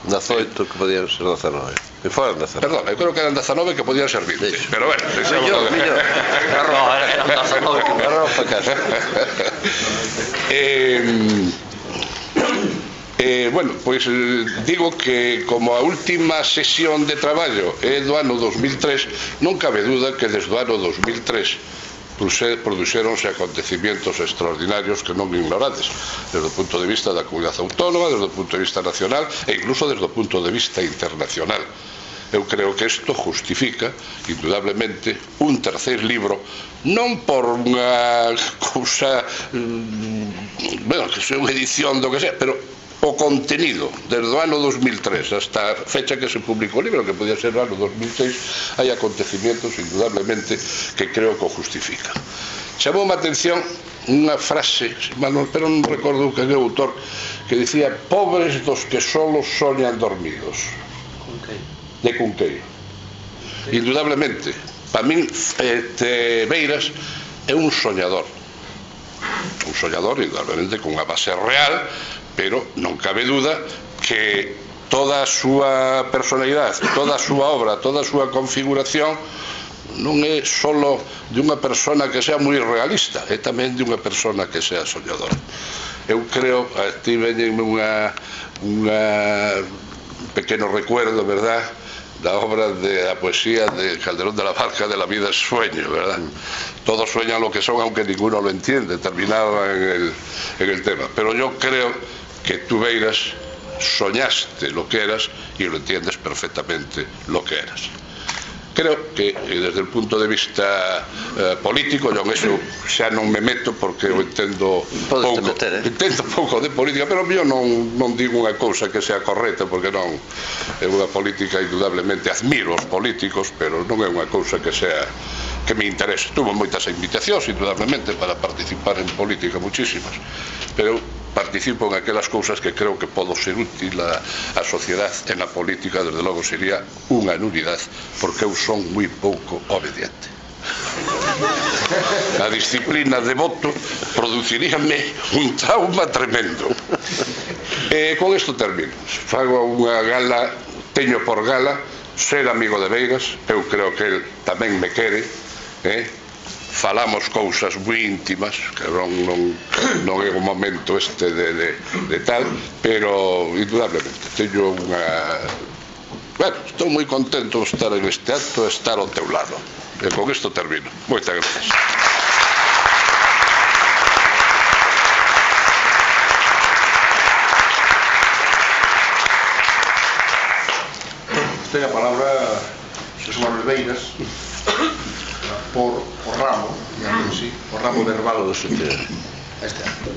dezoito que podían ser dezanove. Que foran dezanove. Perdón, eu creo que eran dezanove que podían ser vinte. Sí. Pero bueno, millón, millón. Error, eran dezanove que error para casa. Eh, eh, bueno, pois pues, digo que como a última sesión de traballo é do ano dos mil tres, non cabe duda que desde o ano dos mil tres produxéronse acontecimientos extraordinarios que non ignorades desde o punto de vista da comunidade autónoma, desde o punto de vista nacional e incluso desde o punto de vista internacional. Eu creo que isto justifica indudablemente un terceiro libro, non por unha cousa bueno, que sea unha edición do que sea, pero o contenido desde o ano dos mil tres hasta a fecha que se publicou o libro, que podía ser o ano dos mil seis, hai acontecimientos indudablemente que creo que o justifican. Chamou a atención unha frase, pero non recordo que é o autor, que dicía: pobres dos que solo soñan dormidos. De Cunqueiro. Indudablemente, para min este, Beiras é un soñador, un soñador indudablemente con unha base real, pero non cabe duda que toda a súa personalidade, toda a súa obra, toda a súa configuración non é solo de unha persona que sea moi realista, é tamén de unha persona que sea soñadora. Eu creo, aquí veñenme unha unha pequeno recuerdo, verdad, da obra de la poesía de Calderón de la Barca, de la vida es sueño, ¿verdad? Todos sueñan lo que son, aunque ninguno lo entiende, terminaba en el, en el tema. Pero yo creo que tú, Beiras, soñaste lo que eras y lo entiendes perfectamente lo que eras. creo que desde o punto de vista eh, político, yo en eso xa non me meto porque eu entendo pouco, meter, eh? entendo pouco de política, pero eu non, non digo unha cousa que sea correcta, porque non é unha política, indudablemente admiro os políticos, pero non é unha cousa que sea que me interese. Tuvo moitas invitacións, indudablemente, para participar en política, muchísimas, pero participo en aquelas cousas que creo que podo ser útil a, a sociedade. En a política, desde logo, sería unha nulidade, porque eu son moi pouco obediente. A disciplina de voto produciríame un trauma tremendo. E con isto termino. Fago unha gala, teño por gala ser amigo de Veigas. Eu creo que el tamén me quere, eh? Falamos cousas moi íntimas, que non, non, non é o momento este de, de, de tal, pero indudablemente teño unha... Bueno, estou moi contento de estar en este acto e estar ao teu lado. E con isto termino. Moitas gracias. Ten a palabra Xosé Manuel Beiras por o ramo, digamos así, o ramo verbal do secretario. Este acto.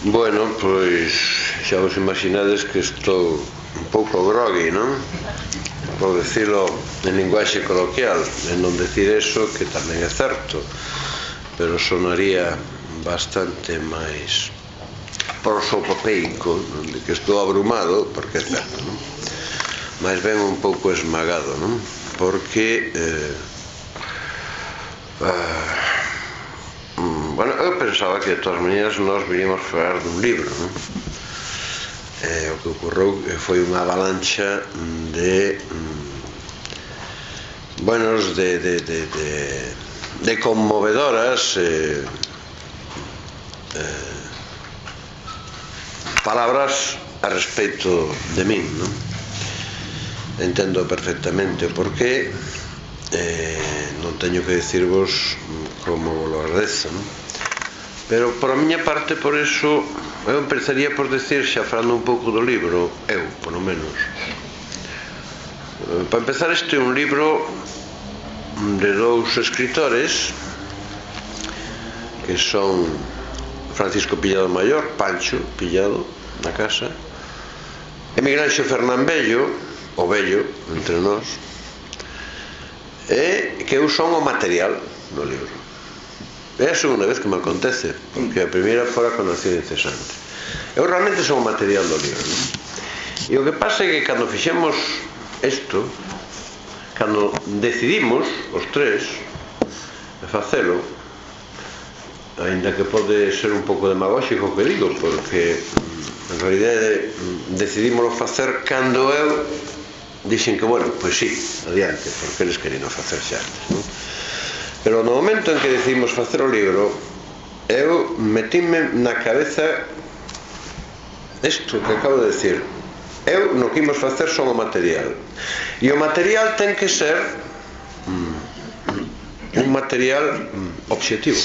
Bueno, pois xa vos imaginades que estou un pouco grogui, non? Por decirlo en linguaxe coloquial, en non decir eso, que tamén é certo, pero sonaría bastante máis prosopopeico, non? De que estou abrumado, porque é certo, non? Mais ben un pouco esmagado, non? Porque eh, uh, bueno, eu pensaba que de todas maneiras nós viríamos a falar dun libro, non? Eh, o que ocorreu foi unha avalancha de mm, buenos de, de, de, de, de conmovedoras eh, eh, palabras a respecto de min, non? Entendo perfectamente o porqué, eh, non teño que dicirvos como lo agradezo, non? Pero por a miña parte, por eso eu empezaría por decir, xa falando un pouco do libro, eu, por lo menos, para empezar, este é un libro de dous escritores que son Francisco Pillado Maior, Pancho Pillado, na casa, e Miguel Anxo Fernán Bello, o vello entre nós, e que eu son o material do libro. É a segunda vez que me acontece, porque a primeira fora con Acción Incesante. Eu realmente son o material do libro, non? E o que pasa é que cando fixemos isto, cando decidimos os tres facelo, aínda que pode ser un pouco demagóxico o que digo, porque en realidade decidimos facer cando eu dixen que, bueno, pois sí, adiante, porque eles querían facer xa antes, non? Pero no momento en que decidimos facer o libro, eu metíme na cabeza isto que acabo de decir. Eu no que imos facer son o material, e o material ten que ser mm, un material mm, obxectivo.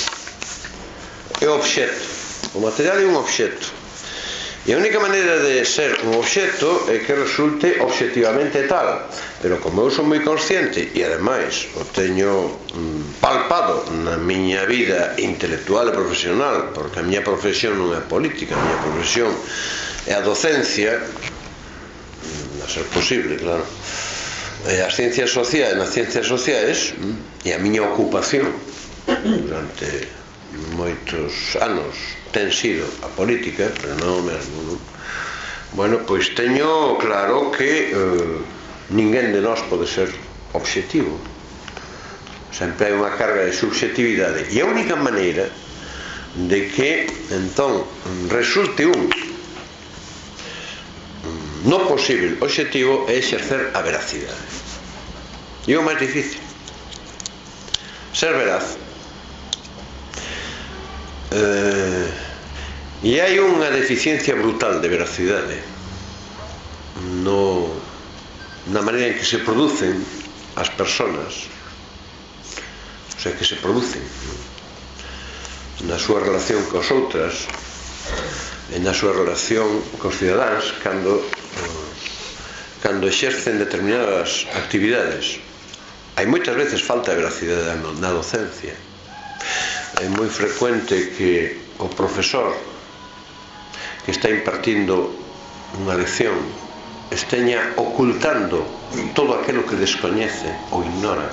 É o obxecto. O material é un obxecto. E a única maneira de ser un obxecto é que resulte obxectivamente tal. Pero como eu son moi consciente, e ademais o teño mm, palpado na miña vida intelectual e profesional, porque a miña profesión non é política, a miña profesión é a docencia, a ser posible, claro, e as ciencias sociais, nas ciencias sociais, e a miña ocupación durante moitos anos ten sido a política, pero non o mesmo, non? Bueno, pois teño claro que eh, ninguén de nós pode ser obxectivo. Sempre hai unha carga de subxectividade, e a única maneira de que entón resulte un no posible obxectivo é exercer a veracidade. E o máis difícil, ser veraz. Uh, e hai unha deficiencia brutal de veracidade no, na maneira en que se producen as persoas, o sea, que se producen na súa relación cos outras, e na súa relación cos cidadáns, cando uh, cando exercen determinadas actividades, hai moitas veces falta de veracidade na docencia. É moi frecuente que o profesor que está impartindo unha lección esteña ocultando todo aquilo que descoñece ou ignora.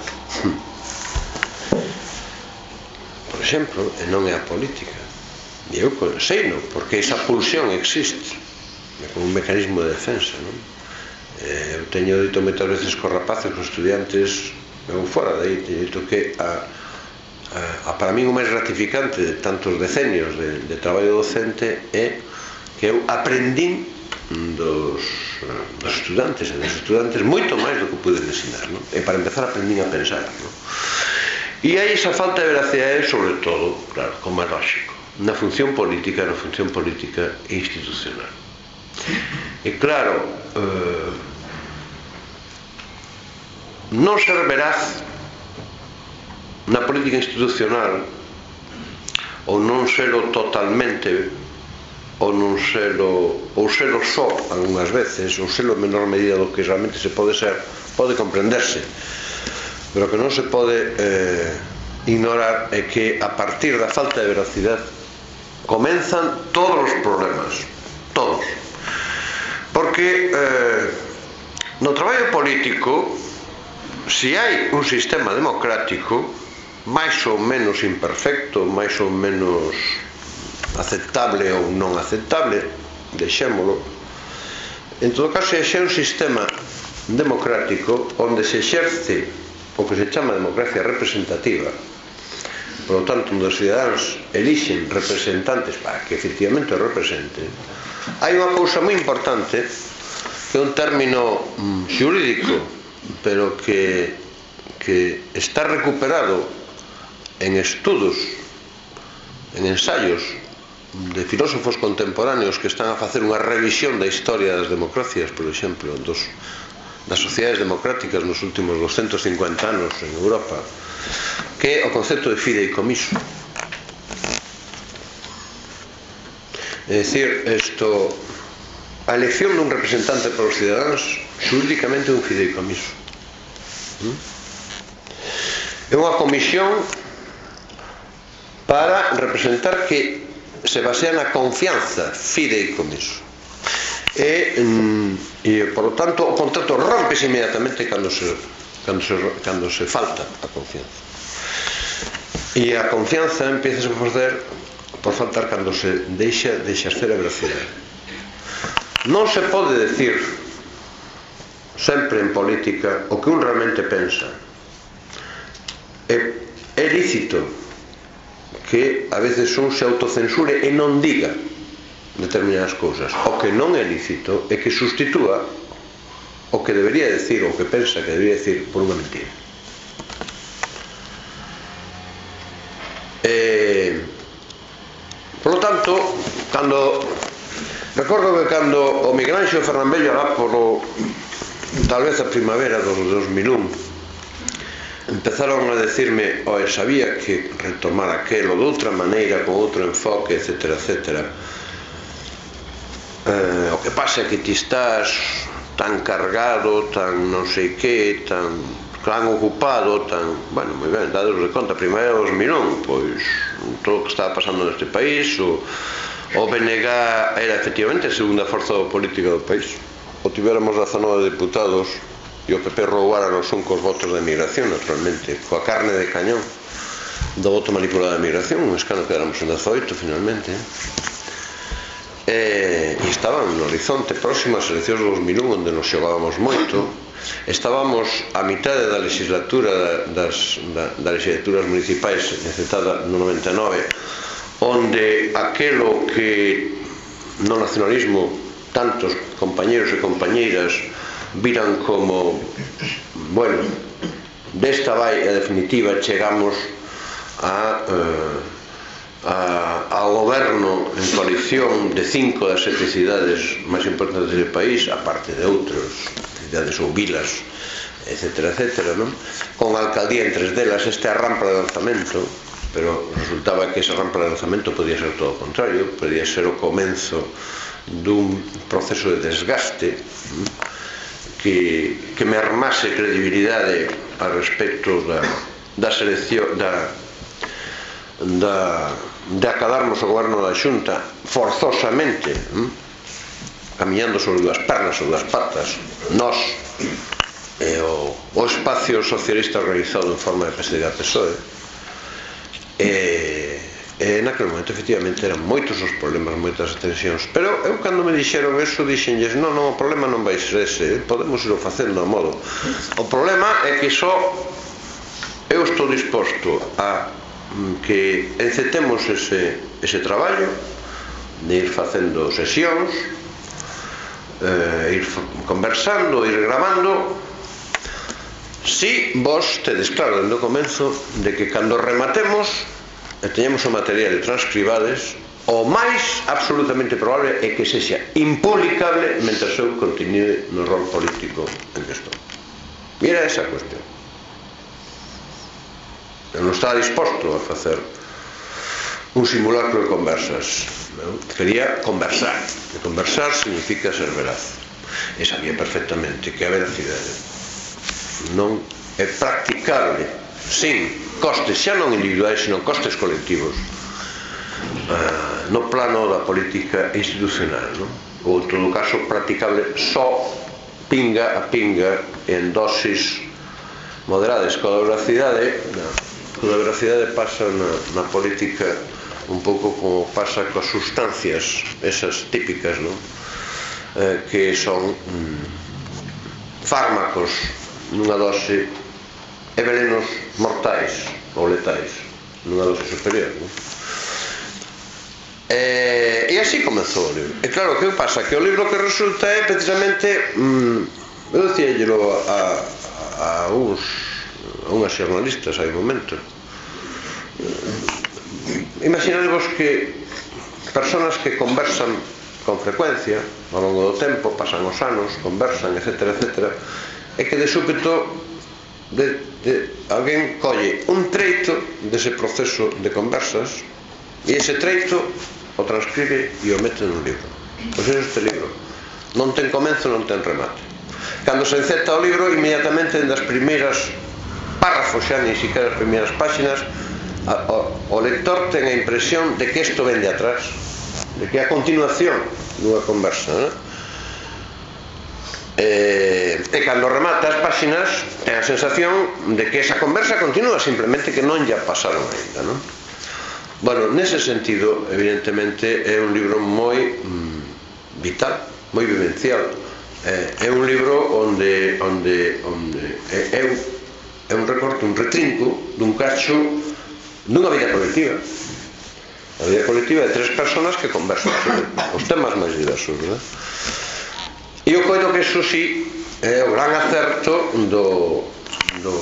Por exemplo, e non é a política. E eu seino, porque esa pulsión existe como un mecanismo de defensa, non? Eu teño dito moitas veces cos rapaces, cos estudiantes, eu fora de aí, teño dito que a, a, a para mí o máis gratificante de tantos decenios de, de traballo docente é que eu aprendín dos, dos estudantes e dos estudantes moito máis do que pude ensinar, non? E para empezar aprendín a pensar, non? E hai esa falta de veracidade, sobre todo, claro, como é lógico, na función política, na función política e institucional. E claro, eh, non ser veraz na política institucional ou non selo totalmente ou non selo ou selo só algunhas veces ou selo en menor medida do que realmente se pode ser, pode comprenderse, pero que non se pode eh, ignorar é que a partir da falta de veracidade comenzan todos os problemas, todos, porque eh, no traballo político, se hai un sistema democrático máis ou menos imperfecto, máis ou menos aceptable ou non aceptable, deixémolo, en todo caso, se é un sistema democrático onde se exerce o que se chama democracia representativa, por lo tanto, onde os cidadáns elixen representantes para que efectivamente o representen, hai unha cousa moi importante que é un término mm, xurídico, pero que, que está recuperado en estudos, en ensaios de filósofos contemporáneos que están a facer unha revisión da historia das democracias, por exemplo, dos, das sociedades democráticas nos últimos doscientos cincuenta anos en Europa, que é o concepto de fideicomiso. É dicir, isto, a elección dun representante para os cidadáns xurídicamente é un fideicomiso. É unha comisión para representar que se basea na confianza, fideicomiso. E, e por lo tanto, o contrato rompese inmediatamente cando se, cando se, cando se falta a confianza. E a confianza empieza a facer por faltar cando se deixa de exercer a veracidade. Non se pode decir sempre en política o que un realmente pensa. É, é lícito que a veces un se autocensure e non diga determinadas cousas. O que non é lícito é que sustitúa o que debería decir, o que pensa que debería decir, por unha mentira. Eh, por lo tanto, cando recordo que cando o Miguel Ángel Fernambello alá polo tal vez a primavera dos dos mil un empezaron a decirme, oe, sabía que retomar aquelo de outra maneira, con outro enfoque, etcétera, etcétera. Eh, o que pasa é que ti estás tan cargado, tan non sei que, tan tan ocupado, tan... Bueno, moi ben, dados de conta, primavera dos mil un, pois todo o que estaba pasando neste país, o, o B N G era efectivamente a segunda forza política do país. O tivéramos dezanove deputados e o P P roubara nos un cos votos da emigración, naturalmente, coa carne de cañón do voto manipulado da emigración, un escano que éramos en dezoito, finalmente. E, e estaban no horizonte próximo ás eleccións do dos mil un, onde nos xogábamos moito. Estábamos a mitade da legislatura das, da, das legislaturas municipais encetada no noventa e nove, onde aquelo que no nacionalismo tantos compañeros e compañeiras viran como, bueno, desta vai a definitiva, chegamos a, uh, a, ao goberno en coalición de cinco das sete cidades máis importantes do país, aparte de outros cidades ou vilas, etcétera, etcétera, non? Con a alcaldía en tres delas. Esta é a rampa de lanzamento, pero resultaba que esa rampa de lanzamento podía ser todo o contrario, podía ser o comenzo dun proceso de desgaste. que, que mermase credibilidade a respecto da, da selección da, da, de acadarmos o goberno da Xunta forzosamente, hm? camiñando sobre dúas pernas ou dúas patas, nós e o, o espacio socialista organizado en forma de P S D A P S O E, e, e naquele momento efectivamente eran moitos os problemas, moitas as tensións, pero eu cando me dixeron eso dixenlles, non, non, o problema non vai ser ese, podemos irlo facendo a modo, o problema é que só eu estou disposto a que encetemos ese, ese traballo de ir facendo sesións, eh, ir conversando, ir grabando, si vos tedes claro dende o comenzo de que cando rematemos e teñemos o material transcribades, o máis absolutamente probable é que sexa impublicable mentre eu continue no rol político en que estou. E era esa a cuestión. Eu non estaba disposto a facer un simulacro de conversas, non? Quería conversar, e conversar significa ser veraz, e sabía perfectamente que a veracidade non é practicable sin costes, xa non individuais, sino costes colectivos, uh, no plano da política institucional, non? Ou en todo caso practicable só pinga a pinga en dosis moderadas. Coa veracidade, coa veracidade pasa na, na política un pouco como pasa coas sustancias esas típicas, non? Eh, que son mm, fármacos nunha dose e velenos mortais ou letais nunha dose superior, non? E, e así comezou o libro. E claro, que pasa? Que o libro que resulta é precisamente mm, eu dicíallelo a, a, a uns a unhas xornalistas hai un momento, imaginadevos que personas que conversan con frecuencia ao longo do tempo, pasan os anos, conversan, etcétera, etcétera, e que de súpeto de, de, alguén colle un treito dese proceso de conversas e ese treito o transcribe e o mete nun libro. Pois é este libro, non ten comenzo, non ten remate. Cando se enceta o libro, inmediatamente das primeiras párrafos, xa nin siquiera as primeiras páxinas, a, o, o lector ten a impresión de que isto ven de atrás, de que é a continuación dunha conversa, non? E, e cando remata as páxinas ten a sensación de que esa conversa continúa, simplemente que non ya pasaron ainda, non? Bueno, nese sentido, evidentemente é un libro moi mm, vital, moi vivencial, eh, é un libro onde onde onde é, é, un, é un recorte, un retrinco dun cacho dunha vida colectiva. A vida colectiva de tres personas que conversan sobre os temas máis diversos, verdad? E eu coido que iso sí é o gran acerto do, do,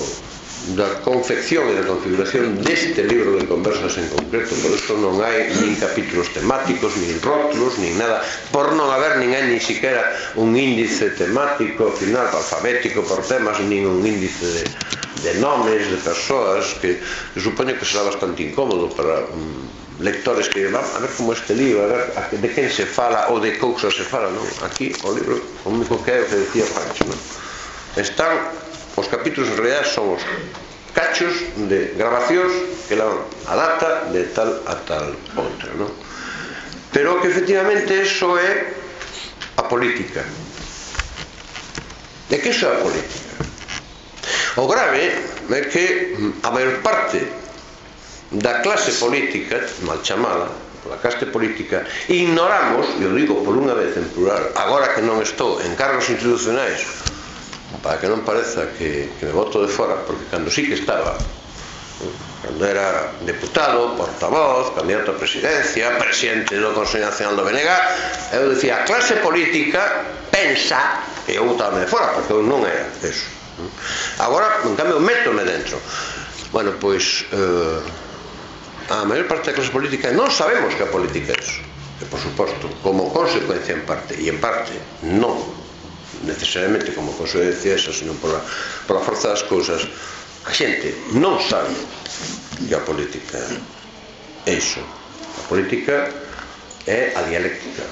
da confección e da configuración deste libro de conversas en concreto. Por iso non hai nin capítulos temáticos, nin rótulos, nin nada, por non haber nin hai nin siquiera un índice temático final, alfabético por temas, nin un índice de, de nomes de persoas que, que supoño que será bastante incómodo para um, lectores que van a ver como este libro, a ver de quen se fala ou de cousas se fala, non? Aquí o libro, o único que é o que decía Pancho, non? Están os capítulos en realidad son os cachos de grabacións que levan a data de tal a tal outra, non? Pero que efectivamente eso é a política. De que iso é a política? O grave é que a maior parte da clase política, mal chamada, pola clase política, ignoramos, e o digo por unha vez en plural, agora que non estou en cargos institucionais, para que non pareza que, que me boto de fora, porque cando sí que estaba, cando era deputado, portavoz, candidato a presidencia, presidente do Consello Nacional do B N G, eu dicía, a clase política pensa, e eu botaba de fora, porque eu non era eso. Agora, en cambio, métome dentro. Bueno, pois... Eh, a maior parte da clase política non sabemos que a política é eso, e por suposto como consecuencia en parte, e en parte non necesariamente como consecuencia esa, sino por a, por a forza das cousas, a xente non sabe que a política é iso. A política é a dialéctica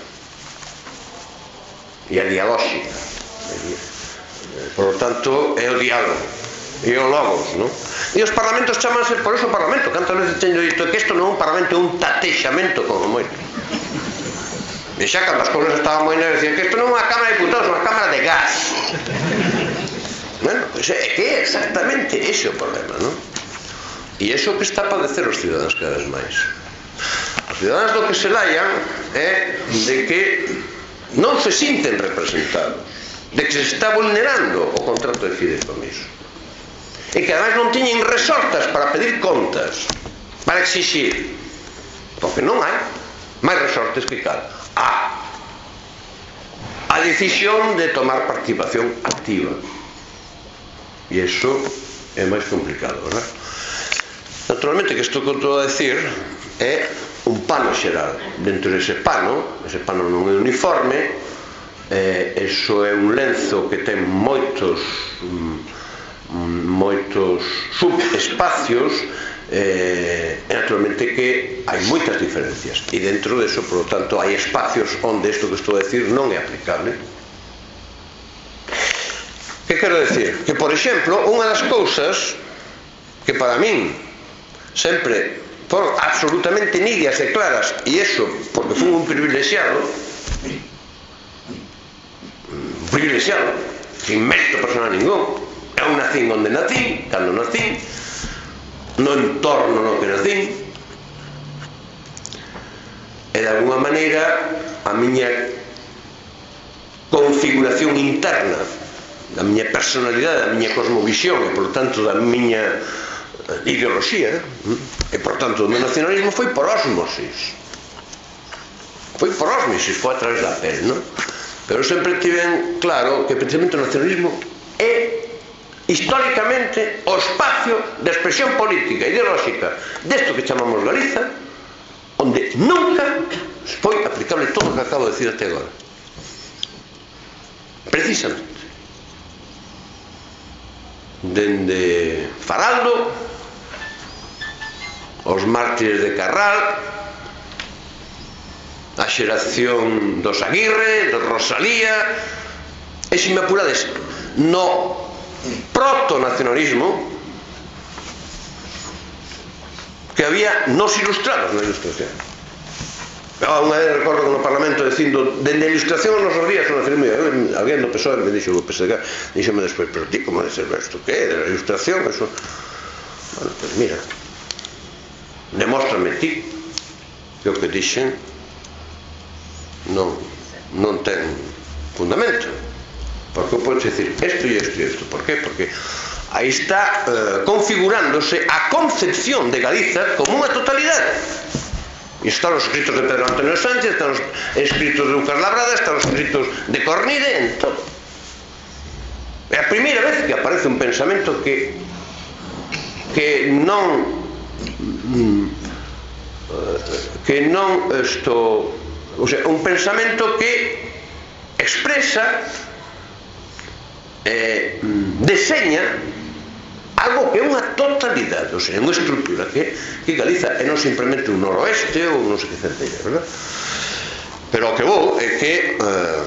e a dialóxica, Por lo tanto, é o diálogo e o logos, non? E os parlamentos chamanse, por eso o parlamento, cantas veces teño dito que isto non é un parlamento, é un tatexamento como moito. E xa cando as cousas estaban moi negras dicían que isto non é unha cámara de diputados, é unha cámara de gas. Bueno, pois é que é exactamente ese o problema, non? E iso que está a padecer os ciudadanos cada vez máis. Os ciudadanos do que se laian é de que non se sinten representados, de que se está vulnerando o contrato de fideicomiso e que ademais non teñen resortas para pedir contas, para exixir, porque non hai máis resortes que cal a a decisión de tomar participación activa, e iso é máis complicado, verdad? Naturalmente que isto que estou a decir é un pano xeral. Dentro dese pano, ese pano non é uniforme, eh, eso é un lenzo que ten moitos moitos subespacios, eh, e naturalmente que hai moitas diferencias, e dentro deso, por lo tanto, hai espacios onde isto que estou a decir non é aplicable. Que quero decir? Que, por exemplo, unha das cousas que para min sempre foron absolutamente nítidas e claras, e iso porque fui un privilexiado, un privilexiado, sin mérito personal ningún. Eu nacín onde nacín, cando nacín, no entorno no que nacín, e de alguma maneira a miña configuración interna, da miña personalidade, da miña cosmovisión e, por tanto, da miña ideoloxía, e, por tanto, o meu nacionalismo foi por ósmosis. Foi por ósmosis, foi a través da pel, non? Pero sempre tiven claro que, precisamente, o nacionalismo é históricamente o espacio de expresión política e ideolóxica desto que chamamos Galiza, onde nunca foi aplicable todo o que acabo de decir até agora. Precisamente. Dende Faraldo, os mártires de Carral, a xeración dos Aguirre, dos Rosalía, e se me apurades, no proto-nacionalismo que había nos ilustrados na ilustración. Unha vez recordo que no Parlamento dicindo dende a ilustración nos días o nacionalismo, alguén do P S O E me dixo o P S D G, díxome despois, pero ti como de ser isto que é, de la ilustración, eso. Bueno, pues mira, demóstrame ti que o que dixen non non ten fundamento. Porque eu podo dicir isto e isto e isto. Por qué? Porque aí está eh, configurándose a concepción de Galiza como unha totalidade. E están os escritos de Pedro Antonio Sánchez, están os escritos de Lucas Labrada, están os escritos de Cornide, en todo. É a primeira vez que aparece un pensamento que que non que non isto, o sea, un pensamento que expresa, eh, deseña algo que é unha totalidade, ou sea, unha estrutura que, que Galiza é non simplemente un noroeste ou non sei que centella, verdad? Pero o que vou é que eh,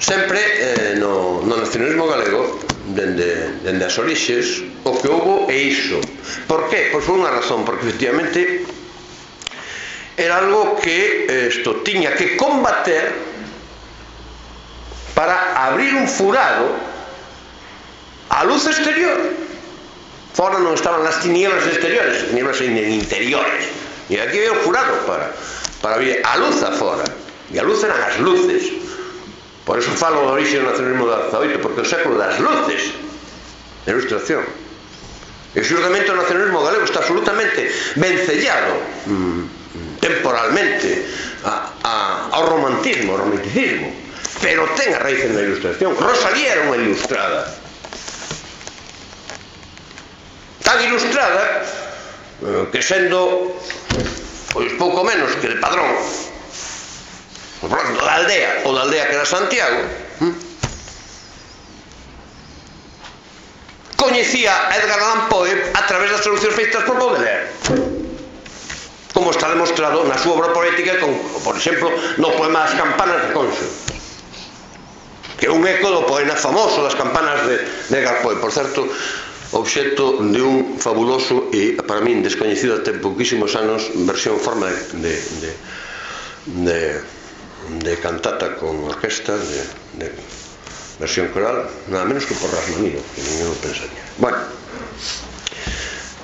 sempre eh, no, no nacionalismo galego, dende, dende as orixes, o que houbo é iso. Por qué? Pois por unha razón, porque efectivamente era algo que isto tiña que combater para abrir un furado a luz exterior. Fora non estaban as tinieblas exteriores, as tinieblas interiores, e aquí veio o furado para, para abrir a luz afora, e a luz eran as luces. Por eso falo do orixe do nacionalismo do dezaoito, porque é o século das luces, de ilustración. E xuramente o nacionalismo galego está absolutamente vencellado mm, temporalmente a, a, ao romantismo, ao romanticismo, pero ten a raíz na ilustración. Rosalía era unha ilustrada, tan ilustrada que sendo pois pouco menos que de Padrón, por exemplo, da aldea, ou da aldea que era Santiago, hm? coñecía a Edgar Allan Poe a través das traduccións feitas por Baudelaire, como está demostrado na súa obra poética, con, por exemplo, no poema As campanas de Conso, que é un eco do poema famoso das campanas de Edgar Poe, por certo, obxecto de un fabuloso e para min descoñecido até pouquísimos anos versión forma de de, de, de cantata con orquesta de, de versión coral, nada menos que por Rasmanino, que ninguén o pensaría. Bueno,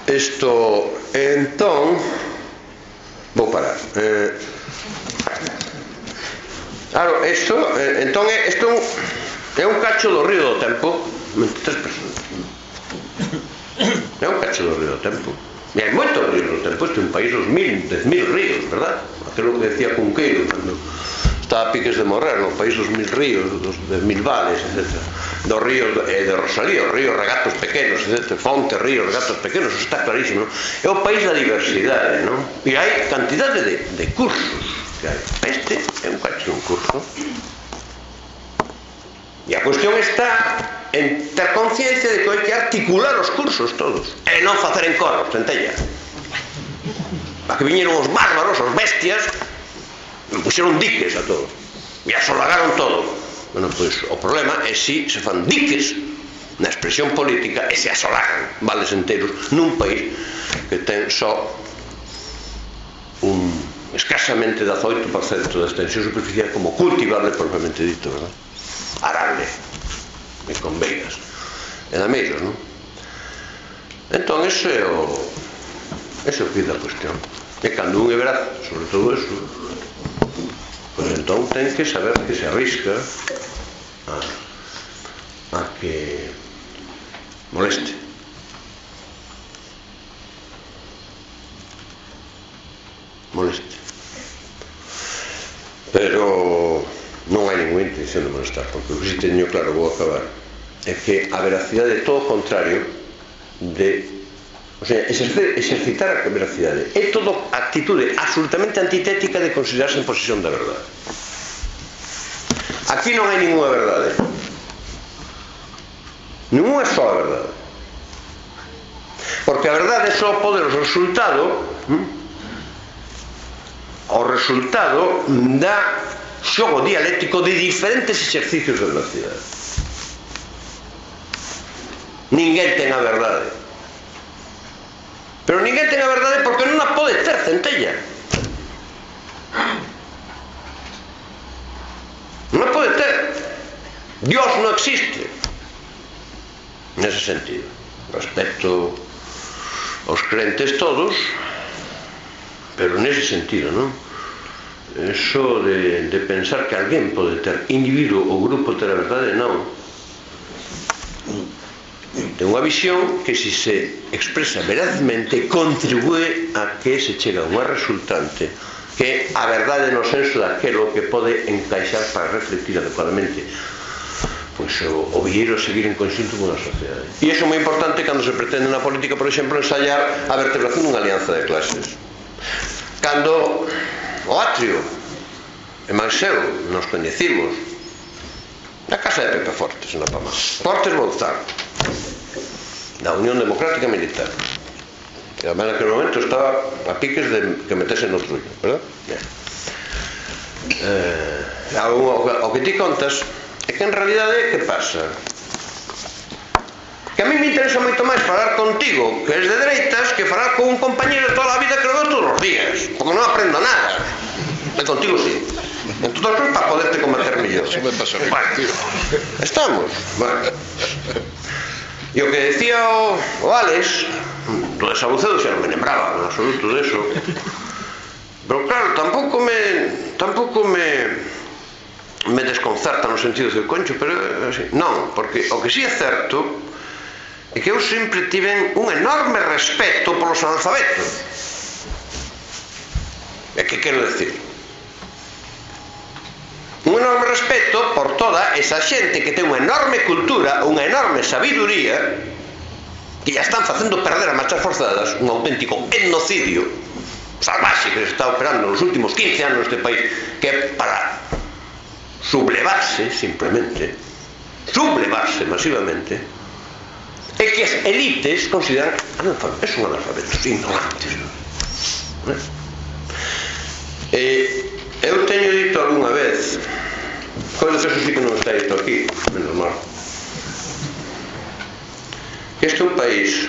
isto entón vou parar. eh, claro, isto eh, entón é, isto é un cacho do río do tempo, veintitrés personas. É un cacho do río do tempo. E hai moitos ríos do tempo. Isto é un país dos mil, dez mil ríos, verdad? Aquilo que decía Cunqueiro cando estaba a piques de morrer, no país dos mil ríos, dos dez mil vales, etcétera. Dos ríos de, de Rosalía, os ríos regatos pequenos, etcétera. Fonte, ríos, regatos pequenos, eso está clarísimo, non? É o país da diversidade, non? E hai cantidade de, de cursos que hai. Este é un cacho un curso. E a cuestión está en ter conciencia de que hai que articular os cursos todos e non facer en coros, centella. Para que viñeron os bárbaros, os bestias, e puxeron diques a todo e asolagaron todo. Bueno, pois o problema é si se fan diques na expresión política e se asolagan vales enteros nun país que ten só un escasamente dezoito por cento da extensión superficial como cultivable propiamente dito, verdad? Arable e con veigas e dameiros, non? Entón, ese é o ese é o que da cuestión. E cando un é veraz sobre todo eso, pois entón ten que saber que se arrisca a, a que moleste. Moleste. Pero non hai ninguna intención de molestar, porque o que si teño claro, vou acabar, é que a veracidade é todo o contrario de, o sea, exercer, exercitar a veracidade é todo actitude absolutamente antitética de considerarse en posesión da verdade. Aquí non hai ninguna verdade, ninguna sola verdade, porque a verdade só pode o resultado hm? o resultado da xogo dialéctico de diferentes exercicios de veracidade. Ninguén ten a verdade, pero ninguén ten a verdade porque non a pode ter, centella. Non a pode ter. Dios non existe nese sentido. Respecto aos crentes todos, pero nese sentido, non? Eso de, de pensar que alguén pode ter, individuo ou grupo ter a verdade, non. Ten unha visión que se se expresa verazmente contribúe a que se chega a unha resultante que é a verdade no senso daquelo que pode encaixar para reflectir adecuadamente pois o, o vieiro seguir en conxunto con a sociedade. E iso é moi importante cando se pretende na política, por exemplo, ensayar a vertebración dunha alianza de clases. Cando o Atrio e Manseu nos coñecimos na casa de Pepe Fortes, na Pamá, Fortes Bouzar, da Unión Democrática Militar, que además naquele momento estaba a piques de que metese no trullo, verdad? Eh, o, o que ti contas é que en realidade que pasa? Que a mí me interesa moito máis falar contigo que es de dereitas que falar con un compañero de toda a vida que lo veo todos os días, porque non aprendo nada. E contigo sí. En todo caso para poderte combater mellor. Eso me pasa a mí, bueno, tío. Estamos. Bueno. E o que decía o, o Alex do de Sabucedo xa non me lembraba en absoluto de eso. Pero claro, tampouco me tampouco me me desconcerta no sentido de concho, pero así, non, porque o que sí é certo é que eu sempre tiven un enorme respeto polos analfabetos. E que quero decir? Un enorme respeto por toda esa xente que ten unha enorme cultura, unha enorme sabiduría, que ya están facendo perder a marchas forzadas un auténtico etnocidio salvaxe que se está operando nos últimos quince anos neste país, que é para sublevarse simplemente, sublevarse masivamente, e que as elites consideran analfabetos, son analfabetos ignorantes. Eh, eu teño dito algunha vez coisa que eso sí que non está isto aquí, menos mal. Este é un país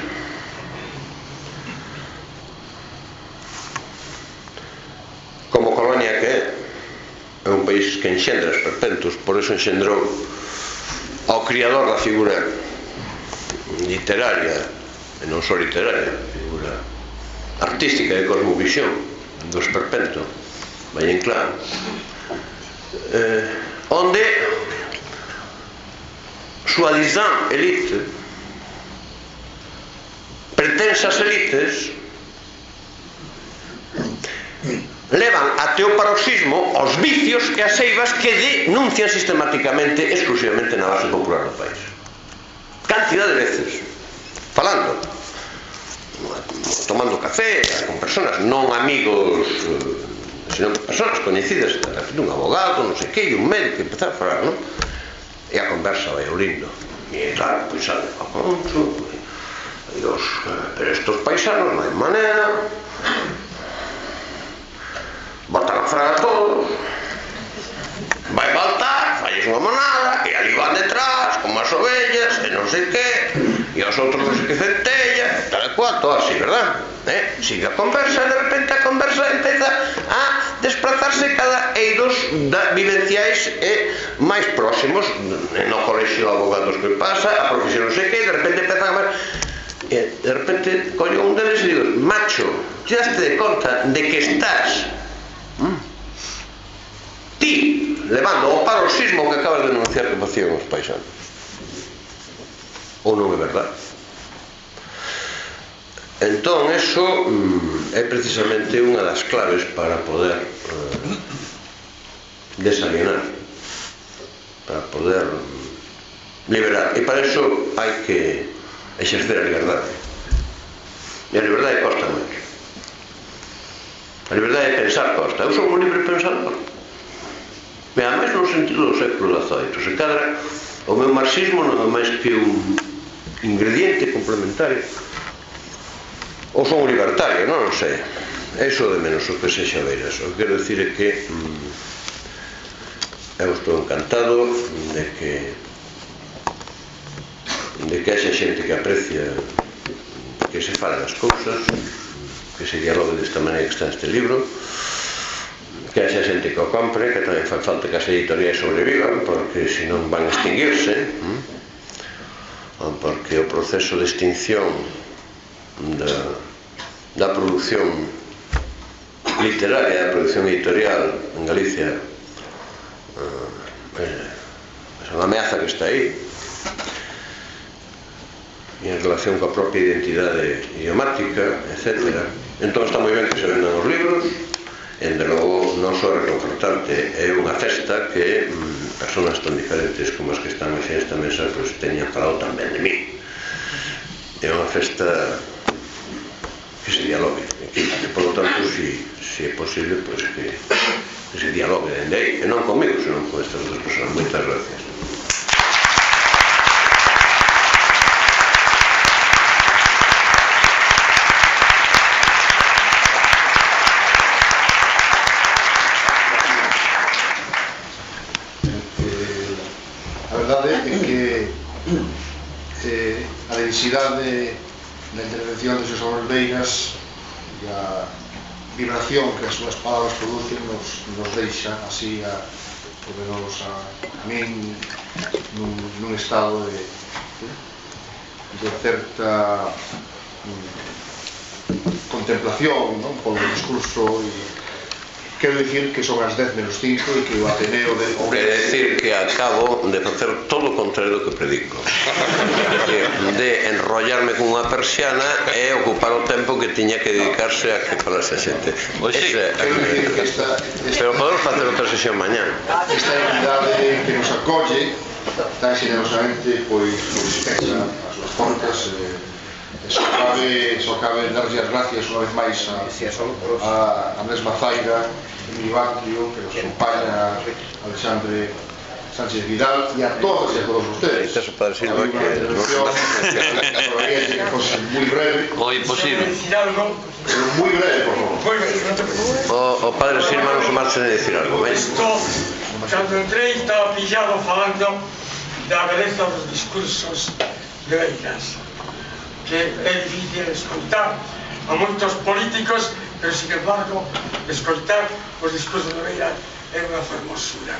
como colonia que é, é un país que enxendra esperpentos, por eso enxendrou ao criador da figura literaria, e non só literaria, figura artística de cosmovisión do esperpento, vai en claro, eh, onde soi-disant elite, pretensas elites, levan até o paroxismo os vicios e as eivas que denuncian sistemáticamente exclusivamente na base popular do país. Cantidad de veces falando, tomando café con personas, non amigos, senón personas coñecidas, un abogado, non sei que, un médico, empezar a falar, non? E a conversa vai ao lindo, e claro, pois sale ao conto, Dios, pero estos paisanos non hai manera, botan a fraga todos, vai baltar, falles unha monada, e ali van detrás, como as ovellas, e non sei que, e os outros non sei que centella, tal e cual, todo así, verdad? Eh? Sigue a conversa, e de repente a conversa empeza a desplazarse cada eidos da vivenciais e máis próximos, no colexio de abogados que pasa, a profesión non sei que, e de repente empezan a ver, e de repente coño un deles e digo, macho, te daste de conta de que estás ti levando ao paroxismo que acabas de denunciar que facían os paisanos, ou non é verdade? Entón, eso mm, é precisamente unha das claves para poder eh, desalienar, para poder liberar, e para eso hai que exercer a liberdade, e a liberdade costa moito. A liberdade de pensar costa. Eu sou un libre pensador, e a máis no sentido do século dezoito. Se cadra, o meu marxismo non é máis que un ingrediente complementario, ou son un libertario, non, non sei, é iso de menos o que sexa veiras. O que quero dicir é que mm, eu estou encantado de que de que haxa xente que aprecia que se falen as cousas, que se dialogue desta maneira que está neste libro, que haxa xente que o compre, que tamén fai falta que as editoriais sobrevivan, porque senón van a extinguirse, porque o proceso de extinción da, da produción literaria, da produción editorial en Galicia é unha ameaza que está aí, e en relación coa propia identidade idiomática, etcétera. Entón está moi ben que se vendan os libros, e de logo non só é reconfortante, é unha festa que mm, personas tan diferentes como as que están hoxe nesta mesa pues, teñan falado tamén de mí. É unha festa que se dialogue, e que, por lo tanto, si, si é posible, pues, que, que se dialogue dende aí, e non comigo, senón con estas dos personas. Moitas gracias. Densidade da intervención de Xosé Manuel Veigas e a vibración que as súas palabras producen nos, nos deixa así a, por menos a, a min nun, nun estado de, de certa um, contemplación, non? Polo discurso e quero dicir que son as dez menos cinco e que o Ateneo de... Quero dicir que acabo de facer todo o contrario do que predico, de, de enrollarme con unha persiana e ocupar o tempo que tiña que dedicarse a que falase a xente. Pois sí, quero dicir que esta, esta... Pero podemos facer outra sesión mañá. Esta entidade que nos acolle tan generosamente, pois, pois pecha as súas portas, eh, só cabe, só cabe darlle as gracias unha vez máis a, a, a mesma Zaira Emilio Batrio, que nos acompaña, Alexandre Sánchez Vidal, e a todos e a todos ustedes. Eso para Silva que que fose moi breve. O imposible. Pero moi breve, por favor. O, o padre Silva non se marcha de decir algo, ¿ves? cando entrei estaba pillado falando da beleza dos discursos de Beiras, que é difícil escoitar a moitos políticos, pero sin embargo escoitar os discursos de Beiras é unha fermosura.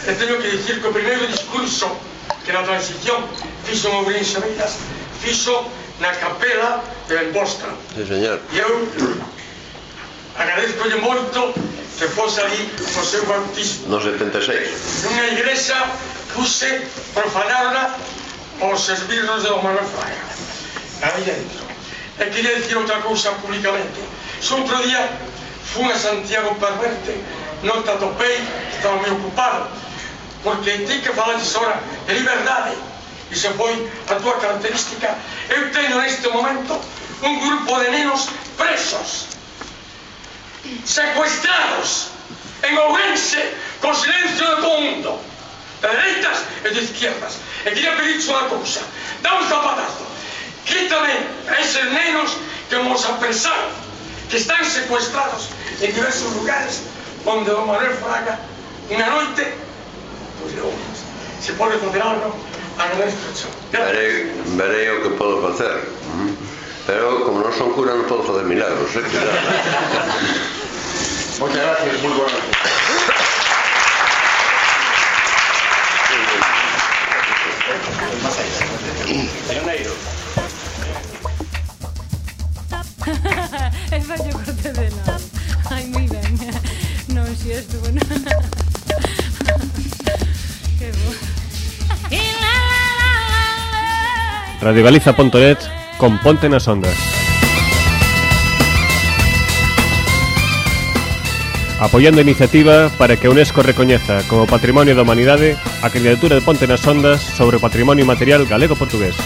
E teño que dicir que o primeiro discurso que na transición fixo Mourense Beiras fixo na capela de Benbosta. Sí, señor. E eu agradezcolle moito que fose ali o seu bautismo. No setenta e seis. Nunha igrexa puse profanarla os esbirros de Manuel Fraga. Aí dentro. E queria dicir outra cousa públicamente. Se outro día fui a Santiago Perverte, non te atopei, estaba moi ocupado, porque ti que falades ahora de liberdade, e se foi a tua característica, eu teño neste momento un grupo de nenos presos, secuestrados en Ourense, con silencio de todo o mundo, de dereitas e de izquierdas. E queria pedirte unha cousa: dá un zapatazo, quítame a eses nenos que nos apresaron, que están secuestrados en diversos lugares onde don Manuel Fraga unha noite, pois non, se pode facer algo, agradezco. Verei, verei o que podo facer, pero como non son cura non podo facer milagros, eh? Moitas gracias, moi boa noite. Pioneiro. E fallo corte de nada. Ai, moi ben. Non, si estuvo, non. Que bo. radiogaliza punto net con Ponte nas Ondas. Apoiando a iniciativa para que a UNESCO recoñeza como Patrimonio da Humanidade a candidatura de Ponte nas Ondas sobre o patrimonio material galego-portugués.